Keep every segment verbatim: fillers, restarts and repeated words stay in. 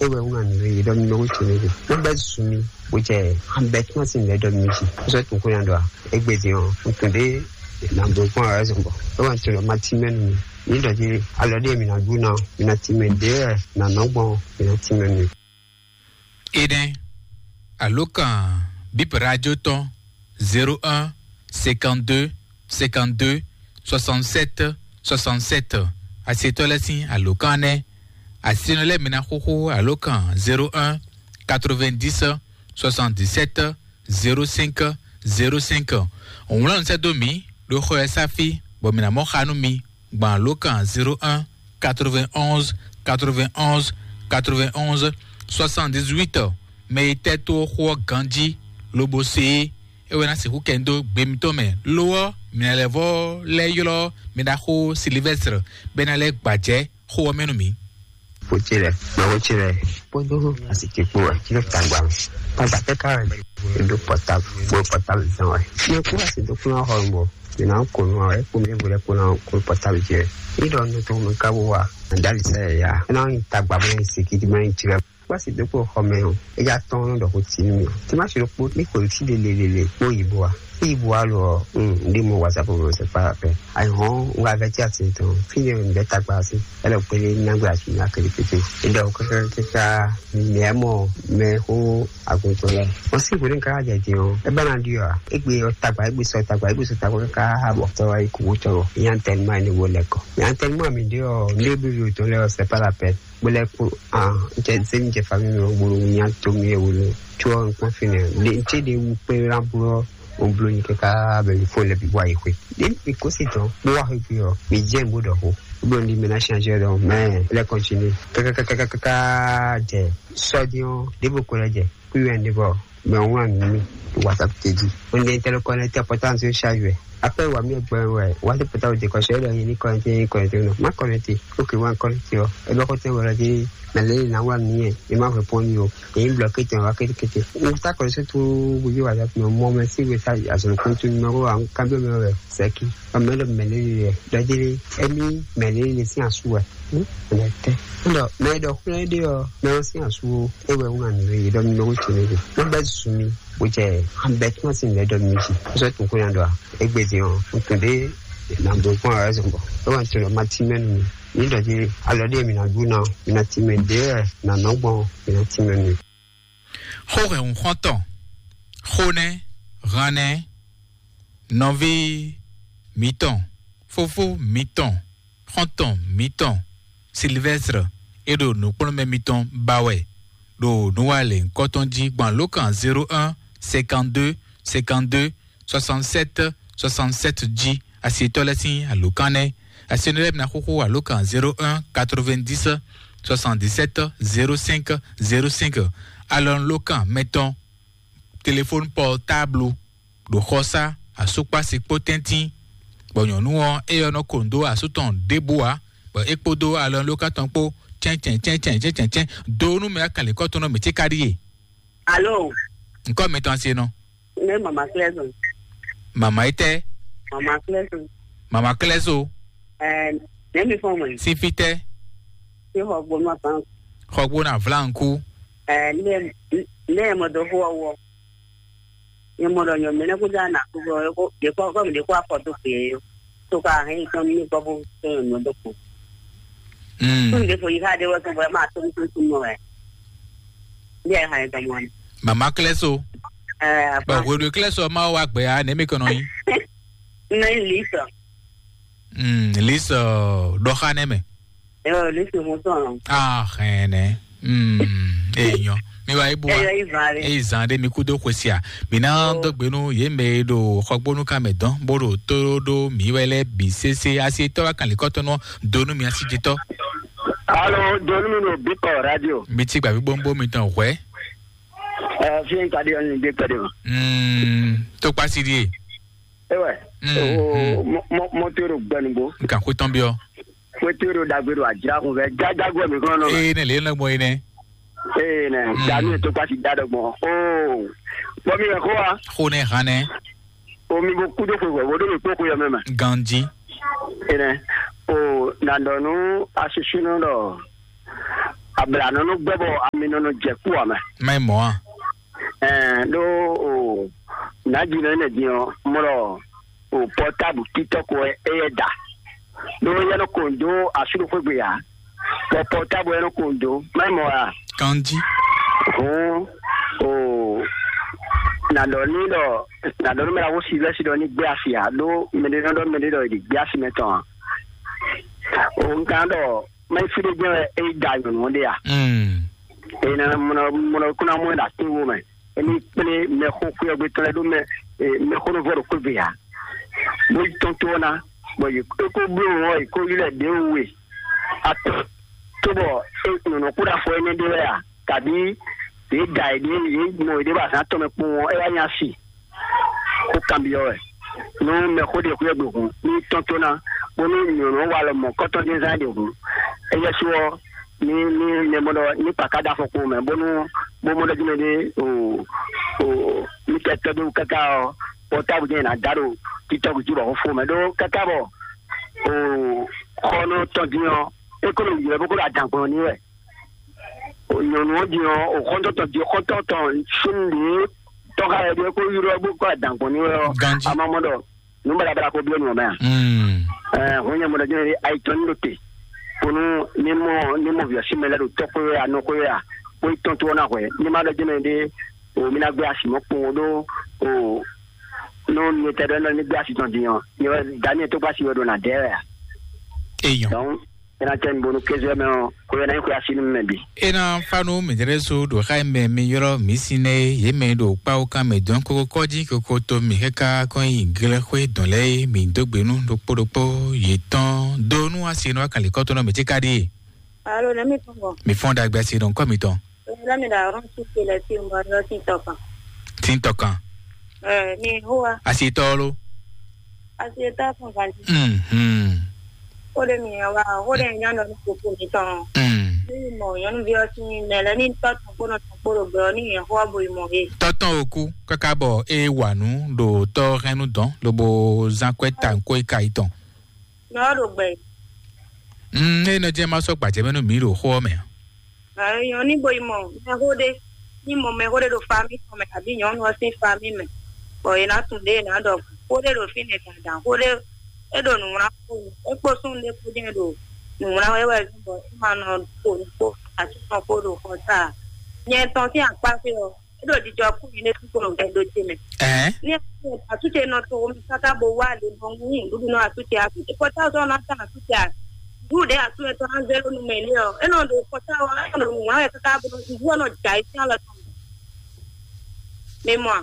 É wɛ wú nǎ nǔ e ɖɔ mi nɔ wú tso mi ɖe. Nú bɛ́ zun mi, bó jɛ an bɛ́ tún asi nǔ e ɖɔ mi jí. Sɔ́ tunwun xó nya ɖɔ a? Égbé din ɔ́, un tunwun ɖé nǎ bló kpɔ́n ǎ wɛ zɔn bɔ é wɛ un tunwun ɖɔ ma cí mɛ nú mi. Mi ɖɔ jí alɔ ɖé mi ná ɖu ná, mi ná cí mɛ ɖě wɛ nǎ nɔ gbɔn, mi ná cí mɛ nú mi. Énɛ́, alǒkan bíp radio tɔn zéro un cinquante-deux cinquante-deux soixante-sept soixante-sept. Asietɔ́ lɛ́ɛ sín alǒkan nɛ́. Asinɔ lɛ́ɛ mi ná xóxó alǒkan zéro un quatre-vingt-dix soixante-dix-sept zéro cinq zéro cinq. Wlán sɛ́ dó mǐ ɖo xɔ ɛ sáfí, bɔ mǐ ná mɔ xa nú mi gbɔn alǒkan zéro un quatre-vingt-onze quatre-vingt-onze quatre-vingt-onze soixante-dix-huit. Mɛ e tɛ́ tó xó ɔ́ ganjí lobo se é, é wɛ ná sixú kɛ dó gbe mitɔn mɛ. Lo ɔ́, mǐ ná lɛ́ vɔ́ lɛ́ ylɔ́ mi ɖaxó Silivɛ́stre bɔ é ná lɛ́ gbajɛ́ xó ɔ́ mɛ nú mǐ. Xó ce lɛ́ɛ, mɛ xó ce lɛ́ɛ kpódó asi ce kpó wɛ, ci ɖo tagba mɛ. Tagba tɛ ká wɛ, e ɖo pɔtabu, kpó pɔtabu zɔn wɛ. Mɛ kú asi dó kplɔ́n xɔ mɔ, mǐ ná kó nu wɛ, kpó mɛ vo lɛ́ɛ kpó ná kó pɔtabu ce wɛ. Ní ɖɔ nú tó mɛ ká bó wa, dali sɛ ya. É ná nyi tagba mɛ, sikiti mɛ, ci lɛ́ɛ. Kpasi dó kpó xɔ mɛ ɔ́, é já tɔ́n nɔ ɖɔ xó tínú mì ɔ́. Timási ɖokpó ní xweyǐ sí lelelele kpó yi bó wa. Fí yi bó wa lo ɔ́, un ɖi mɔ whatsapp mɛ sɛ kpá pɛ. Ayi hɔn un wá vɛ tí a sin tɔn. Fí ne un bɛ tagba sí. Ɛlɛ kpélé nyagbe asi nya kele pété. É ɖɔ kákákáká mɛ mɔ mɛ xó aguntɔ lɛ. Wọ́n sì wòlé ká jẹ jẹ ɔ́. É bá na ɖi ɔ́. Égbé ɔ́ tagba, égbé sɔ tagba, égbé sɔ tagba káká bɔ tɔ́ wá yi kú wó tɔ́. Ìyá ń tẹnu mọ́ ẹni wo lẹ́kọ̀ọ́. Ìyá ń tẹnu mọ́ àmì dé ɔ́. Ndé bí yóò tán lẹ́ ɔ́, c'est pas la peine. Bó lɛ́ kpó ah, jɛ zé mi jɛ famille mi gbolo nya to mi e wolo. Tso ɔ́, un kpɔ́n fínɛ́. Ɖe n cé ɖe wu kpé ná blo ɔ́, un blo nyi káká bɛ mi fó lɛ bi wá yi xwe. Ɖe mi kó si tɔn, bó wá xwe ɔ, mi jɛ n bó ɖɔ xó. Bó ɖo ndi mi ná change ɖɔ, mɛ lɛ continue. Kákákákáká jɛ sɔdiɔn ɖěvo ko lɛ jɛ kú yɛ ndé bɔ mɛ ɔ́ wlán nǔ nú mi ɖo WhatsApp ce jí. Un ɖe tɛlɛ kɔnɛtɛ pɔtánsɛ ṣáájú ɛ. Après wà mí ẹgbẹ́ wẹ̀ wá sí pɔtà òde kɔsẹ̀ ẹ̀rọ yẹn ní kɔnɛtẹ yẹn kɔnɛtẹ náà. Má kɔnɛtẹ. Ok, wá kɔnɛtẹ ɔ. Ẹ bá kɔnɛtẹ wọlé dé mɛ lé ní wá nìyẹn. Ẹ má fẹ́ pọ́n ní o. Èyí blɔkí tẹ̀ wá kétékété. Mo sá kɔnɛtẹ tó gbogbo wà láti mọ mɛ sí ìwé sá àsọ̀rọ̀ kó tó ní mọ́ wá kábíyọ̀ mẹ́wàá rẹ̀ sẹ́kì. Ọmọ ẹ̀dọ̀ mẹ́lẹ́ rẹ̀ dọ́jẹ́lé ẹ̀mí mẹ́lẹ́ rẹ̀ sí àsú ẹ̀. Ọ̀nà tẹ́. Ńdọ̀ mẹ́ẹ̀dọ̀ kúnlẹ̀ dé ọ mẹ́wàá sí àsú o. Ewé wọn àná yìí dọ́ mi lọ́wọ́ tì mí. Wọ́n bẹ́ sùn mi. Bó jẹ́ an bɛ tún sí lɛ dɔ mi si. Sɔ tun ko yan dɔ a. Egbe di ɔn, n tun de na do kpɔn a zɔn bɔ. E wa n tun dɔ ma ti mɛ nu. Ni dɔ di alɔ de mi na du na, mi na ti mɛ de na nɔ gbɔn, mi na ti mɛ nu. Xó hɛn xɔntɔn, xó nɛ, han nɛ, nɔví mǐtɔn, fofó mǐtɔn, xɔ́ntɔn mǐtɔn Silvɛ́stre e ɖo nǔkplɔ́nmɛ mitɔn ba wɛ ɖo nǔwalěnkɔ́ tɔn jí gbɔn alǒkan zéro un cinquante-deux cinquante-deux soixante-sept soixante-sept jí. Asietɔ́ lɛ́ɛ sín alǒkan nɛ́. Asienɔ lɛ́ɛ bǐ ná xóxó alǒkan zéro un quatre-vingt-dix soixante-dix-sept zéro cinq zéro cinq. Alɔnulókan mɛtɔn, telefóni pɔtáblu ɖo xɔsá, asúkpási kpó tɛ́ntín, bɔ nyɔ̌nu ɔ́, éyɛ́ nɔ ko nǔ dó asú tɔn ɖěbǔ ǎ, bɔ é kpódó alɔnulókan tɔn kpó cɛ́ncɛ́n cɛ́ncɛ́n cɛ́ncɛ́n cɛ́n dó nú mɛ akɛnlɛ́kɔ́tɔn nɔ mǐ ce ka ɖíe. Alo. Ŋkɔ́ mitɔn asi e nɔ. Ne mama klɛzo. Mama yi tɛ. Mama klɛzo. Mama klɛzo. Ɛɛ, ne mi fɔ mɔ. Sifi tɛ. Si xɔ gbonu aban. Xɔ gbonu avlanku. Ɛɛ, ne ne mɔ do fo wɔ. Ne mɔ dɔ nyɔ mɛ ne ko da na ko ko ko de ko ko de ko afɔ to pe. To ka hɛn tɔn mi ko bo to nyɔ do ko. Mm. Tun de fo yi ha de wɔ to bɔ ma to to to mɔ wɛ. Bi a hɛn tɔn mɔ. Mama klɛzo. Ɛɛ, bɔn aban. Hweɖu klɛzo ma wa gbɛ ya ne mi kɔnɔ yi. Ne li sɔ. Mm, lisi ɖɔxanɛ mɛ. Ɛɛ, lisi mo sɔn. Ah, hɛnɛ. Mm, enyɔ. Mi wa ibu wa. Eyi zan ɖe mi kudo xwesi a. Mi na dɔgbe nu ye mɛ ɖo xɔgbonu ka mɛ dɔn bo ɖo to ɖo mi wɛ lɛ bi sese asi tɔ wa kan likɔtɔnɔ donu mi asi jitɔ. Alo, donu mi ɖo bikɔ radio. Mi ti gbavi gbombo mi tɔn hwɛ. Ɛɛ, fi n ka di ɔni de pɛ de ma. Mm, to kpasi di e. Ewɛ. Mm, o mm. Mɔ mɔ mɔ to ɖo gbɛnugbo. Nkan xwe tɔn biɔ. Xwe to ɖo dagbe ɖo adzra kun fɛ jajagbɔ mi kɔnɔ nɔ. Ee ne le nɔ gbɔ yi nɛ. Ee nɛ. Mm. Dami to pasi da dɔ gbɔn. Oo. Bɔ mi yɛ ko wa. Xo ne han nɛ. O mi bo kudo xwe wɛ wo ɖo mi kpó xwe yɔ mɛ mɛ. Ganji. Ee nɛ. O na dɔ nu asusunɔ dɔ. abla nɔ nɔ gbɛ bɔ ami nɔ nɔ jɛ kú ame. Má yi mɔ a? Ɛɛ ɖó o nàjínɔ ɛnɛ din ɔ mɔ ɖɔ o pɔtábù títɔ ko ɛ yɛ da ɖó yɛ nɔ ko dó asúɖo xwégbe ya bɔ pɔtábù yɛ nɔ ko dó má yi mɔ a? Kanji. Hɔn o nàdɔ ní ɖɔ nàdɔ ní mɛ la wó si lɛsi ɖɔ ní gbé asi a ɖó mɛɖé nɔ ɖɔ mɛɖé ɖɔ ìdí gbé asi mɛ tɔn a? O nkan ɖɔ mɛ fi ɖé jẹ́ e da nyɔ̌nu ɖé a? Mm. Ena mɔnɔ mɔnɔ kúnná mɔ ɖa tó wo mɛ emi kplé mɛxó xwéyɔgbé tɔn lɛ ɖó mɛ mɛxó nɔ vɔ ɖo kógbe a bó tɔn tó ɔ́ ná bɔ yě kó bló ɔ́ yě kó yi lɛ ɖě we atɔn tó bɔ nyɔ̌nu kó ɖo afɔ énɛ́ ɖé wɛ a? Kabí yě da yě ɖé yě mɔ yě ɖé bɔ azǎn tɔn mɛ kpowun ɔ́ é wá nya si xó kanbyɔ́ wɛ nú mɛxó ɖě xwíyɔ́ ɖo hǔn ní tɔ́n tó ná bónú nyɔ̌nu wa lɔ mɔ̌ kɔ́tɔ́ dín zán ɖě hǔn. Éyɛ́ sú ɔ́ ní ní mɛ mɔ ɖɔ ní kpaká ɖó afɔkpo mɛ bónú bó mɔ ɖɔ jí mɛ ɖé o o ní kɛ tɔ́ dó káká ɔ́ pɔtábu jɛ́n yě ná dá ɖo títɔ́ gǔ jí bɔ xó fó mɛ ɖó káká bɔ o xɔ nɔ tɔn dín ɔ́ é kó nɔ ylɔ́ bó kó ɖo adǎn gbɔn ní wɛ. Nyɔ̌nu ɔ́ din ɔ́, xɔ́ntɔn tɔn din xɔ́ntɔn tɔn sín nǔɖé tɔ́ xá wɛ ɖíe kó ylɔ́ bó kó adǎn gbɔn ní wɛ ɔ́, Ganji. A ma mɔ ɖɔ nǔ baɖabaɖa ko byɔ́ nú ɔ́ mɛ a? Mm. Ɛɛ, hɔn nyɛ mɔ ɖɔ jɛ́n ayitɔn ní ɖo te, bónú ní mɔ ní mɔ vǐ ɔ́ sín mɛ lɛ́ɛ ɖo tɔ́ xwé wɛ a, nɔ xwé wɛ a, bó yi tɔn tó ɔ́ ná hwɛ̌. Ní ma ɖɔ jɛ́n mɛ ɖé, o mi ná gbé asi mɔ̌ kpowun ɖó o nú nyɛ tɛ ɖɔ ní gbé asi tɔn din ɔ́, nyɛ wɛ Daniɛl tó gbé asi wɛ ɖo nǎ dɛ wɛ a? Eyɔn. Donc, é ná tɛ́ mi bónú kéze ɔ́ mɛ ɔ́, xwe ɔ́ ná nyí xwe así nú mɛ bǐ. É ná fá nú mǐdɛ́ ɖésú ɖo xá e mɛ mi ylɔ́ mǐ sín é, yě mɛ e ɖo kpáwú kan mɛ dɔn kókó kɔ́ jí kókó to mì káká kɔn nyi glɛ́xwé dɔn lɛ́ɛ é, mǐ dó gbe nú ɖokpó ɖokpó yětɔn dó nú asi nú akǎnlíkɔ́tɔ́ nɔ mǐ cí ka ɖíe. Alo, nɛ mi tɔn bɔ? Mi fɔ́n ɖagbe asi nɔ kɔ́ mitɔn. Lami da ɔrɔn su ke lɛ ti mɔ lɔ ti tɔ kan. Tí ń tɔkan. Ɛ, mi hoa. Asi tɔ lo. Asi ta fún kan ti. Mhm. O de mi wa, o de nya nɔ ni koko mi tɔn. Mm. Ni mɔ nyɔnu bi ɔsi mi mɛ lɛ ni tɔ tɔn kpo nɔ tɔn kpo ɖo gbɛ ɔ ni yɛn hoa bo yi mɔ he. Tɔtɔn oku kaka bɔ e wa nu ɖo tɔ hɛnnu dɔn lobo zan kwɛ ta nko e ka yi tɔn. Nɔ ɖo gbɛ. Mm, e nɔ jɛ ma sɔ gbajɛ mɛ nú mi ɖo xó ɔ mɛ. Ayɔ ní bo yi mɔ mɛxó ɖé ní mɔ mɛxó ɖé ɖo fami tɔn mɛ abǐ nyɔ̌nu ɔ́ sín fami mɛ, bɔ è nǎ tunwun ɖě è nǎ ɖɔ xó ɖé ɖo fínɛ́ dandan, xó ɖé é ɖo nǔwlán kpó é kpó súnnu ɖé kpó jɛ́n ɖo nǔwlán wɛ wɛ zɔ́n bɔ é ma nɔ xo nǔ kpó asúnɔ kpó ɖo xɔ tá a. Nyɛ tɔn sín akpá xwé ɔ́, é ɖo jijɔ kú nyɛ ɖésú kpó ɖo gbɛdó ce mɛ. Ɛɛ. Ní asúnɔ nɔ to omi káká bo wá lě bɔ ń wú nǔɖuɖu nɔ asúnɔ ce asúnɔ ce kɔtá ɔ́ ná tán asúnɔ ce a. Ɖu ɖe asu etɔn na zé ɖo numɛ lé ɔ, enɔ ɖo kɔta wa, enɔ ɖo ŋlɔ wɛ kaka bo nɔ ɖu ɔnɔ dza yi sín alɔ tɔn. Mɛ mɔ a?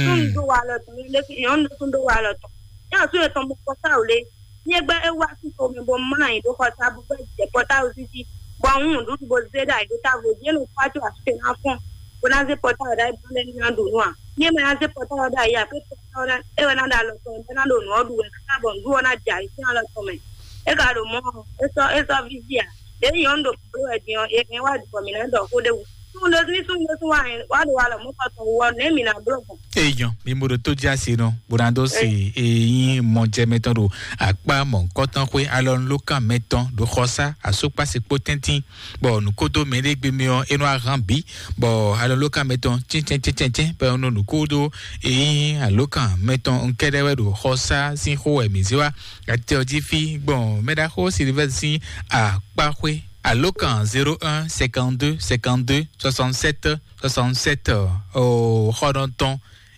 Tún do wa alɔ tɔn, lé fi nyɔnu ɖo tún do wa alɔ tɔn. Ní asu etɔn mo kɔta o lé. Ní egbe e wá sí to mɛ bo mlɔ anyi ɖo kɔta bo gbɛ jɛ kɔta o sisi. Bɔ ŋun ɖuɖu bo zé ɖe ayi ɖo ta vo jɛ no kpa to asu na fɔn. Bo na zé kɔta o ɖe ayi bɔ lɛ ní na ɖu nu a. Ní e ma na zé kɔta o ɖe ayi a, pé kɔta o na e wɛ na ɖe alɔ tɔn, bɛ na ɖo nǔ ɔ ɖu wɛ kaka bɔ nǔɖu ɔ na dza yi sín alɔ tɔn mɛ. E ka ɖo mɔ ɔ, e sɔ e sɔ vivi a. Ɖe nyɔnu ɖo kpɔ́n wɛ din ɔ, e hɛn wá ɖu bɔ mǐ ná ɖɔ xó ɖé wú. Súnnu ɖé ní súnnu ɖé sún wá hɛn wá ɖo alɔ mɔ̌kɔ tɔn wú ɔ, nɛ̌ mǐ ná bló gbɔn? Eyɔn, mi mo ɖo tó dzi asi nɔ, bó ná dó si eyín mɔjɛmɛtɔn ɖo akpá mɔ̌kɔtɔn xwé alɔnulókan mɛtɔn ɖo xɔsá asúkpásikpó tɛ́ntín, bɔ nǔkódó mɛɖé gbe mi ɔ, é nɔ ahan bǐ, bɔ alɔnulókan mɛtɔn tíntɛ́ntíntɛ́n bɔ nɔ nǔkódó eyín alókan mɛtɔn nkɛɖɛ wɛ ɖo xɔsá sín xó wɛ mǐ zé wá. Atɛ ɔ́ jí fí gbɔn mɛɖaxó Silivɛ́ sín akpáxwé alókan zéro un cinquante deux cinquante deux soixante sept soixante sept. Xɔnɔtɔn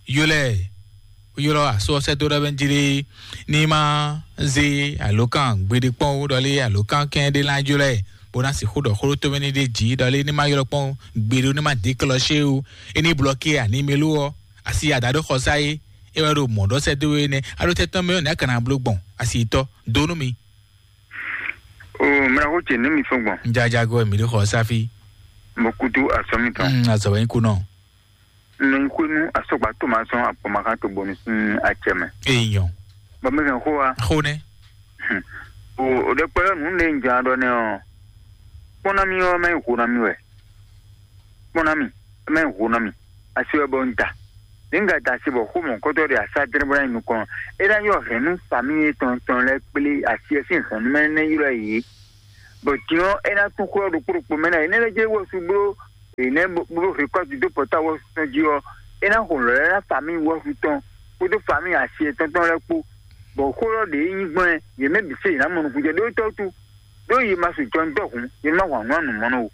ylɔ́ ylɔ́ asú ɔ́ sɛ́ dó ɖɔ bɛ́ jí ɖé ní má zé alókan gbeɖé kpɔ́n ó, ɖɔlé alókan kɛn ɖé lá ylɔ́ ɛ bó ná sixú ɖɔ xó ɖó tómɛ ní ɖé jǐ, ɖɔlé ní má ylɔ́ kpɔ́n gbeɖé ó, ní má dě klɔ́ xé ó, é ní blɔ́kí animelo ɔ́, asi ada ɖó xɔsá é, é wɛ ɖo mɔ̌ ɖɔ sɛ́ dó é nɛ́. Aɖó tɛ́ tɔn mɛ ɔ́, nɛ̌ a ka ná bló gbɔn asi tɔn dó nú mi? O mraxó ce nú mi fɔ́n gbɔn. Jajago mi ɖo xɔ sáfí. Mo kutu asɔmi tɔn. Mm, azɔ wɛ ku nɔ. Nɔ nyi xwenu asɔgba tó ma sɔn akpɔmakan tó bɔnu sín acɛ mɛ. Eyɔn. Bɔ mi kàn xó wa. Xó nɛ. O o ɖe kpɛ nu ne nja ɖɔ nɛ ɔ. Kpɔn na mi ɔ mɛ xó na mi wɛ. Kpɔn na mi mɛ xó na mi. Asi wɛ bɔ n da. Nígbà tá a ṣe bɔ xó mɔ̌kɔtɔ́ ɖe asá dɛnɛbɔ nyi nukɔn, é ná yɔ hɛ̌nnu sami etɔn tɔn lɛ́ɛ kplé asi ɛ sín hɛ̌nnu mɛ nɛ́ ylɔ́ ɛ yě. Bɔ din ɔ́, é ná tún xó ɔ́ ɖokpó ɖokpó mɛ ná. Énɛ́ lɛ́ɛ jɛ wɔsú bló, énɛ́ bló rékɔ́ti dó pɔ́táwɔ́sú tɔn jí ɔ́, é ná xo lɔ̌ lɛ́ɛ ná famíi wɔsú tɔn kpódó famíi asi yětɔn tɔn lɛ́ɛ kpó. Bɔ xó ɔ́ ɖě nyí gbɔn ɛ, yě mɛ bǐ se yě ná mɔ nukúnjɛ ɖó tɔ́ wútu, ɖó yě ma sixú jɔ nǔ dɔhun, yě ma hwan nǔ anǔmɔnɔ o.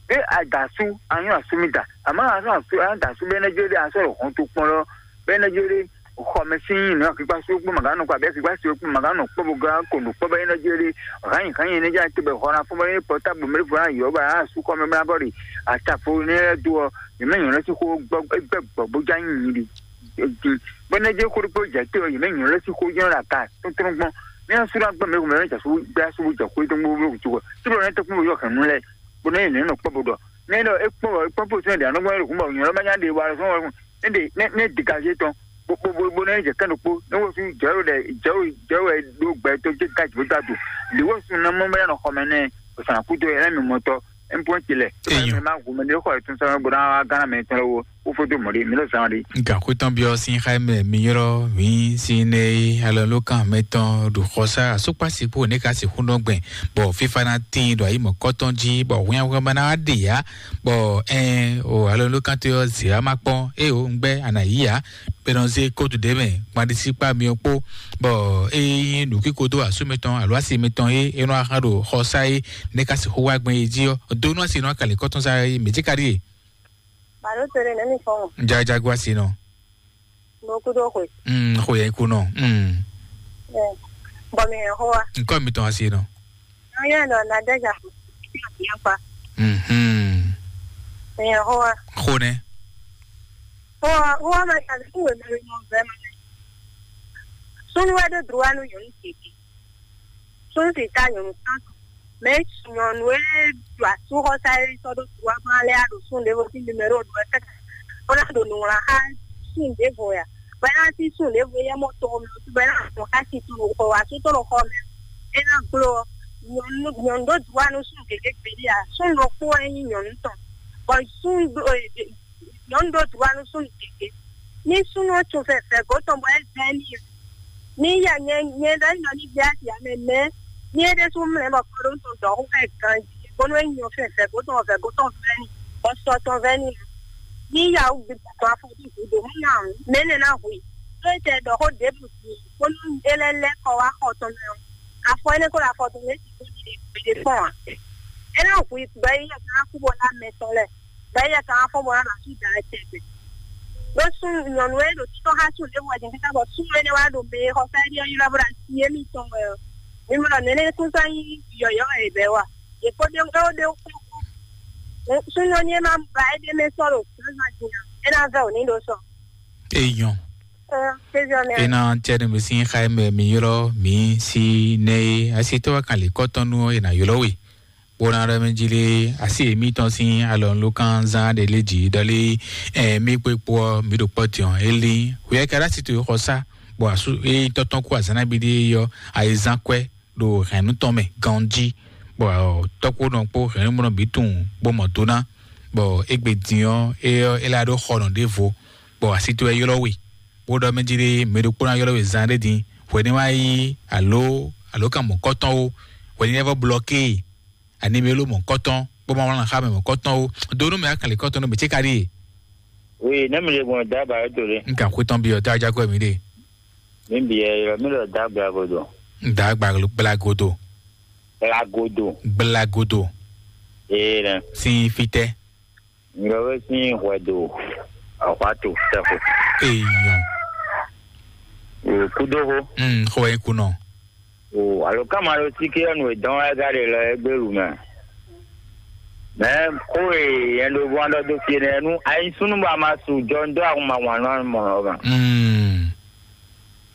Ɖé a da asú, a nyɔ́ asú mì da, àmọ́ a sɔ́ asú, a da asú bɛ́ nɛ́ jɛ ɖé, a sɔ́ ɖo hɔn tó kpɔ́n lɔ bɛ́ nɛ́ jɛ ɖé. Xɔmɛ sín nǔ akíkpá sú kpó màgá nɔ kpó abɛ́ akíkpá sú kpó màgá nɔ kpó bó gán kó nǔ kpó bɛ́ nɛ́ jɛ ɖé. Hǎnyi hǎnyi nɛ́ jɛ te bɛ hɔn ná fɔ́n bɛ́ nɛ́ pɔ́tábl mɛ fɔ́n ná yɔ̌ bɛ a sú kɔmɛ bɛ́ ná bɔ ɖe. Atafo nɛ́ lɛ́ dó ɔ, yě mɛ nyɔ̌ lɛ́ sín xó gbɔ gbɛ gbɔ bó já nyi nyi ɖi. Bɛ́ nɛ́ jɛ xó ɖokpó jɛ te ɔ, yě mɛ nyɔ̌ lɛ́ sín xó jɛ ɖo aga tɔ́ntɔ́n gbɔn. Ní asú ná gbɛ́ mɛ mɛ jɛ sú gbɛ asú bó jɛ xó tɔn gbó bó tɔ́ kpɔ́n bó yɔ hɛ̌nnu lɛ́ɛ. Bó nɛ́ yě nɛ́ nɔ kpɔ́ bó ɖɔ. Nɛ́ ɖɔ é kpɔ́n bɔ é kpɔ́n bó sɛ́n ɖě anɔ́ gbɔn é ɖo kún bɔ nyɔ̌ lɛ́ má nya ɖe wa sɔ́ wɛ. Nɛ́ ɖe nɛ́ nɛ́ dika zé tɔn. Bó bó bó bó nɛ́ jɛ kɛ́n ɖokpó. Nɛ́ wǒ sú jɛ wɛ ɖɛ jɛ wɛ jɛ wɛ ɖó gbɛ tó jɛ ká jǐ bó dó adu. Lě wǒ sú ná mɔ bɛ́ nɔ xɔmɛ nɛ́. Sàn kútu ɛ mi mɔtɔ. Ɛn pɔn ti lɛ. Eyɔn. Má gu mɛ ɖé xɔ ɛ tún sɔ́ bó ná wá gánà mɛ tɔn lɛ wo. Ó fó dó mɔ̌ ɖé mi lɔ zán ɖé. Gǎn xwé tɔn byɔ́ sín xá mɛ mi ylɔ́ mǐ sín nɛ e alɔnulókan mɛtɔn ɖo xɔsá asúkpá sixú ne ka sixú nɔ gbɛn, bɔ fífá ná tíin ɖo ayǐ mɔ̌kɔtɔn jí, bɔ hwinhwan ma ná wá ɖe yá, bɔ ɛn o alɔnulókan tó yɔ zǐ wá má kpɔ́n, é o un gbɛ́ a nǎ yí ǎ, bɔ è nɔ zé kótu ɖě mɛ gbanɖisíkpá myɔ kpó, bɔ é nyí nǔkíko dó asú mɛtɔn alo asi mɛtɔn é é nɔ axán ɖo xɔsá é ne ka sixú wá gbɛn é jí ɔ́, dó nú asi nɔ akali kɔ́tɔn sá é mǐ cí ka ɖíe. Balo to ɖe nɛ́ mi fɔ́n o. Jajagu asi nɔ. Mo kú dó xwe. Mm, xwe yɛ ku nɔ. Mm. Ɛ, bɔ mi hɛn xó wa. Nkɔ mi tɔn asi nɔ. Nɔ yɛ nɔ na dɛ ja. Yɛ fa. Mhm. Mi hɛn xó wa. Xó nɛ. Xó wa, xó wa ma ja ku we mɛ mo vɛ ma. Sunu wɛ do droit nu yɔnu tete. Sunsi ta nyɔ̌nu tɔn tɔn. Mɛ nyɔ̌nu e ɖo asúxɔsá e sɔ́ ɖó duwágbán lɛ́ɛ a ɖo sun ɖěvo sín numéro ɖu wɛ káká, bó ná ɖo nǔ wlán xá sun ɖěvo ya. Bɔ é ná cí sun ɖěvo éyɛ́ mɔ tɔn mɛ, bɔ é ná nɔ xá sin tɔn ɖo xɔ asú tɔn ɖo xɔ mɛ. É ná gbló ɔ́, nyɔ̌nu nyɔ̌nu ɖó duwá nú sun gěgé gbeɖé a? Sun ɖokpó wɛ nyí nyɔ̌nu tɔn. Bɔ sun ɖó nyɔ̌nu ɖó duwá nú súnnu gěgé. Ní súnnu ɔ́ tun fɛfɛ gǒ tɔn bɔ é vɛ́ n'i ɔ́, ní ya nyɛ nyɛ ɖɔ ní nɔ ní gbé asi ǎ mɛ mɛ̌, ní é ɖésú mlɛ́ bɔ kɔɖónú tɔn dɔ̌ xó xá ɛ ganjí, bónú é nyɔ fɛfɛ gǒ tɔn vɛ̌ gǒ tɔn vɛ́ n'i, bɔ sɔ tɔn vɛ́ n'i ǎ. Ní ya wú gbigbɔ tɔn afɔ dó gǔdo mú nya ǎ, mɛ̌ nɛ́ ná hu i? Ɖó é tɛ ɖɔ xó ɖěbǔ din, bónú é lɛ́ lɛ́ kɔ wá xɔ tɔn mɛ ɔ́, afɔ énɛ́ ko ɖo afɔ tɔn mɛ é sixú ɖi gbeɖé kpɔ́n ǎ. É ná hu i gbɛ yi yɛ ká kú bɔ ná mɛ tɔn lɛ́ɛ. Bɛ́ yɛ ka wá fɔ́n bɔ ná ɖo asú da wɛ tɛgbɛ. Ɖó súnnu nyɔ̌nu e ɖo títɔ́ xá súnnu ɖěvo wɛ din káká bɔ súnnu énɛ́ wá ɖo mɛ e xɔ fɛ́ ɖi ɔ́ ylɔ́ bó ɖo así émítɔn wɛ ɔ́, mi mɔ ɖɔ nɛ̌ nɛ́ kún sɔ́ nyí yɔ̌yɔ́ wɛ è bɛ̌ wa. Yě kó ɖe é ó ɖe ó kpɔ́n kpɔ́n. Súnnu ɔ́ ní é má ba éɖée mɛ sɔ́ ɖo zǎnzǎn din ǎ, é ná vɛ́ wǔ n'i ɖó sɔ. Eyɔn. Ɛ, kéziɔ mɛ. Ena tiɛ ne mi sin xa mɛ mi ylɔ́ mi si nɛ e asi tɔ́ wa kan lě kɔ́tɔn nú ɔ́, è nǎ ylɔ́ we. Bó ná ɖɔ mɛ jí lé, asi èmítɔn sín alɔnulókan zán ɖe lé jǐ ɖɔlé, ɛ, mí kpé kpó ɔ́, mǐ ɖo kpɔ́ din ɔ́, é lín. Hwɛ ka ɖo asi towe xɔ sá, bɔ asú é tɔ́tɔ́n kú azǎn nabí ɖé yɔ ayizán kwɛ́ ɖo hɛ̌nnu tɔn mɛ ganjí, bɔ tɔ́kpónɔ kpó hɛ̌nnumɔnɔ bǐ tunwun bó mɔ do ná, bɔ égbé din ɔ́, é ɔ́, é lá ɖó xɔnɔ ɖěvo, bɔ asi towe ylɔ́ we, bó ɖɔ mɛ jí ɖé mɛ ɖokpó ná ylɔ́ we zán ɖé din, hwɛ ní wá yí alo alo kan mɔ̌kɔtɔn ó, hwɛ ní lɛ́ vɔ blɔké e, ani mɛ ló mɔ̌kɔtɔn, bó ma wlán xá mɛ mɔ̌kɔtɔn ó, dó nú mɛ akanlě kɔ́tɔn nú mɛ cé ka ɖíe. Oui, ne mi le gbɔn da ba to le. N kan xwé tɔn byɔ, tá a já kɔ mi ɖe. Mi bi ɛ yɔ, mi lɔ da gba godo. Da gba gbla godo. Gba godo. Gbla godo. Ee nɛ. Sin fitɛ. Ŋlɔwé sín hwɛ do. Ahwa to tɛxo. Eyɔn. O kudo ho. Mm, xɔ e kunɔ. O alo kama lo si ke nu e dɔn wɛ ga de lɔ e gbelu mɛ. Mɛ ko e yɛn do bɔ dɔ do fie nɛ nu ayi sunu ba ma su jɔ ndo ahun ma wan nɔ mɔ lɔ ma. Mm.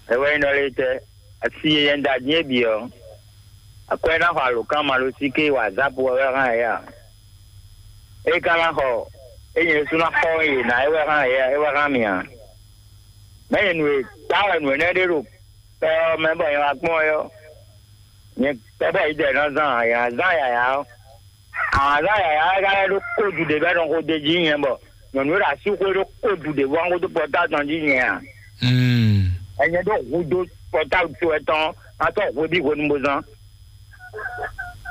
Ewe nɔ le tɛ asi yɛn da die bi ɔ. Akwɛ na xɔ alo kama lo si ke wa zapu wɛ hã ya. E ka na xɔ e yɛn su na xɔ ye na e wɛ hã ya e wɛ hã mi a. Mɛ yɛn nu e ta wɛ nu enɛ de do. Kpɛ ɔ́ mɛ bɔ nyɛ wá kpɔ́n ɔ́, nyɛ kpɛ bɔ yi dɛ nɔ zán yǎ zán yǎyá ɔ́. Àwọn azán yǎyá wɛ ka lɛ́ ɖó kódu ɖě bɔ é nɔ xo d'é jí nyɛ bɔ nyɔ̌nu e ɖo así xwé ɖó kódu ɖě bɔ xódó pɔtáblu tɔn jí nyɛ a? Mm. Ɛnyɛ ɖó hudó pɔtáblu towe tɔn ná sɔ́ hweví hwenu bó zán.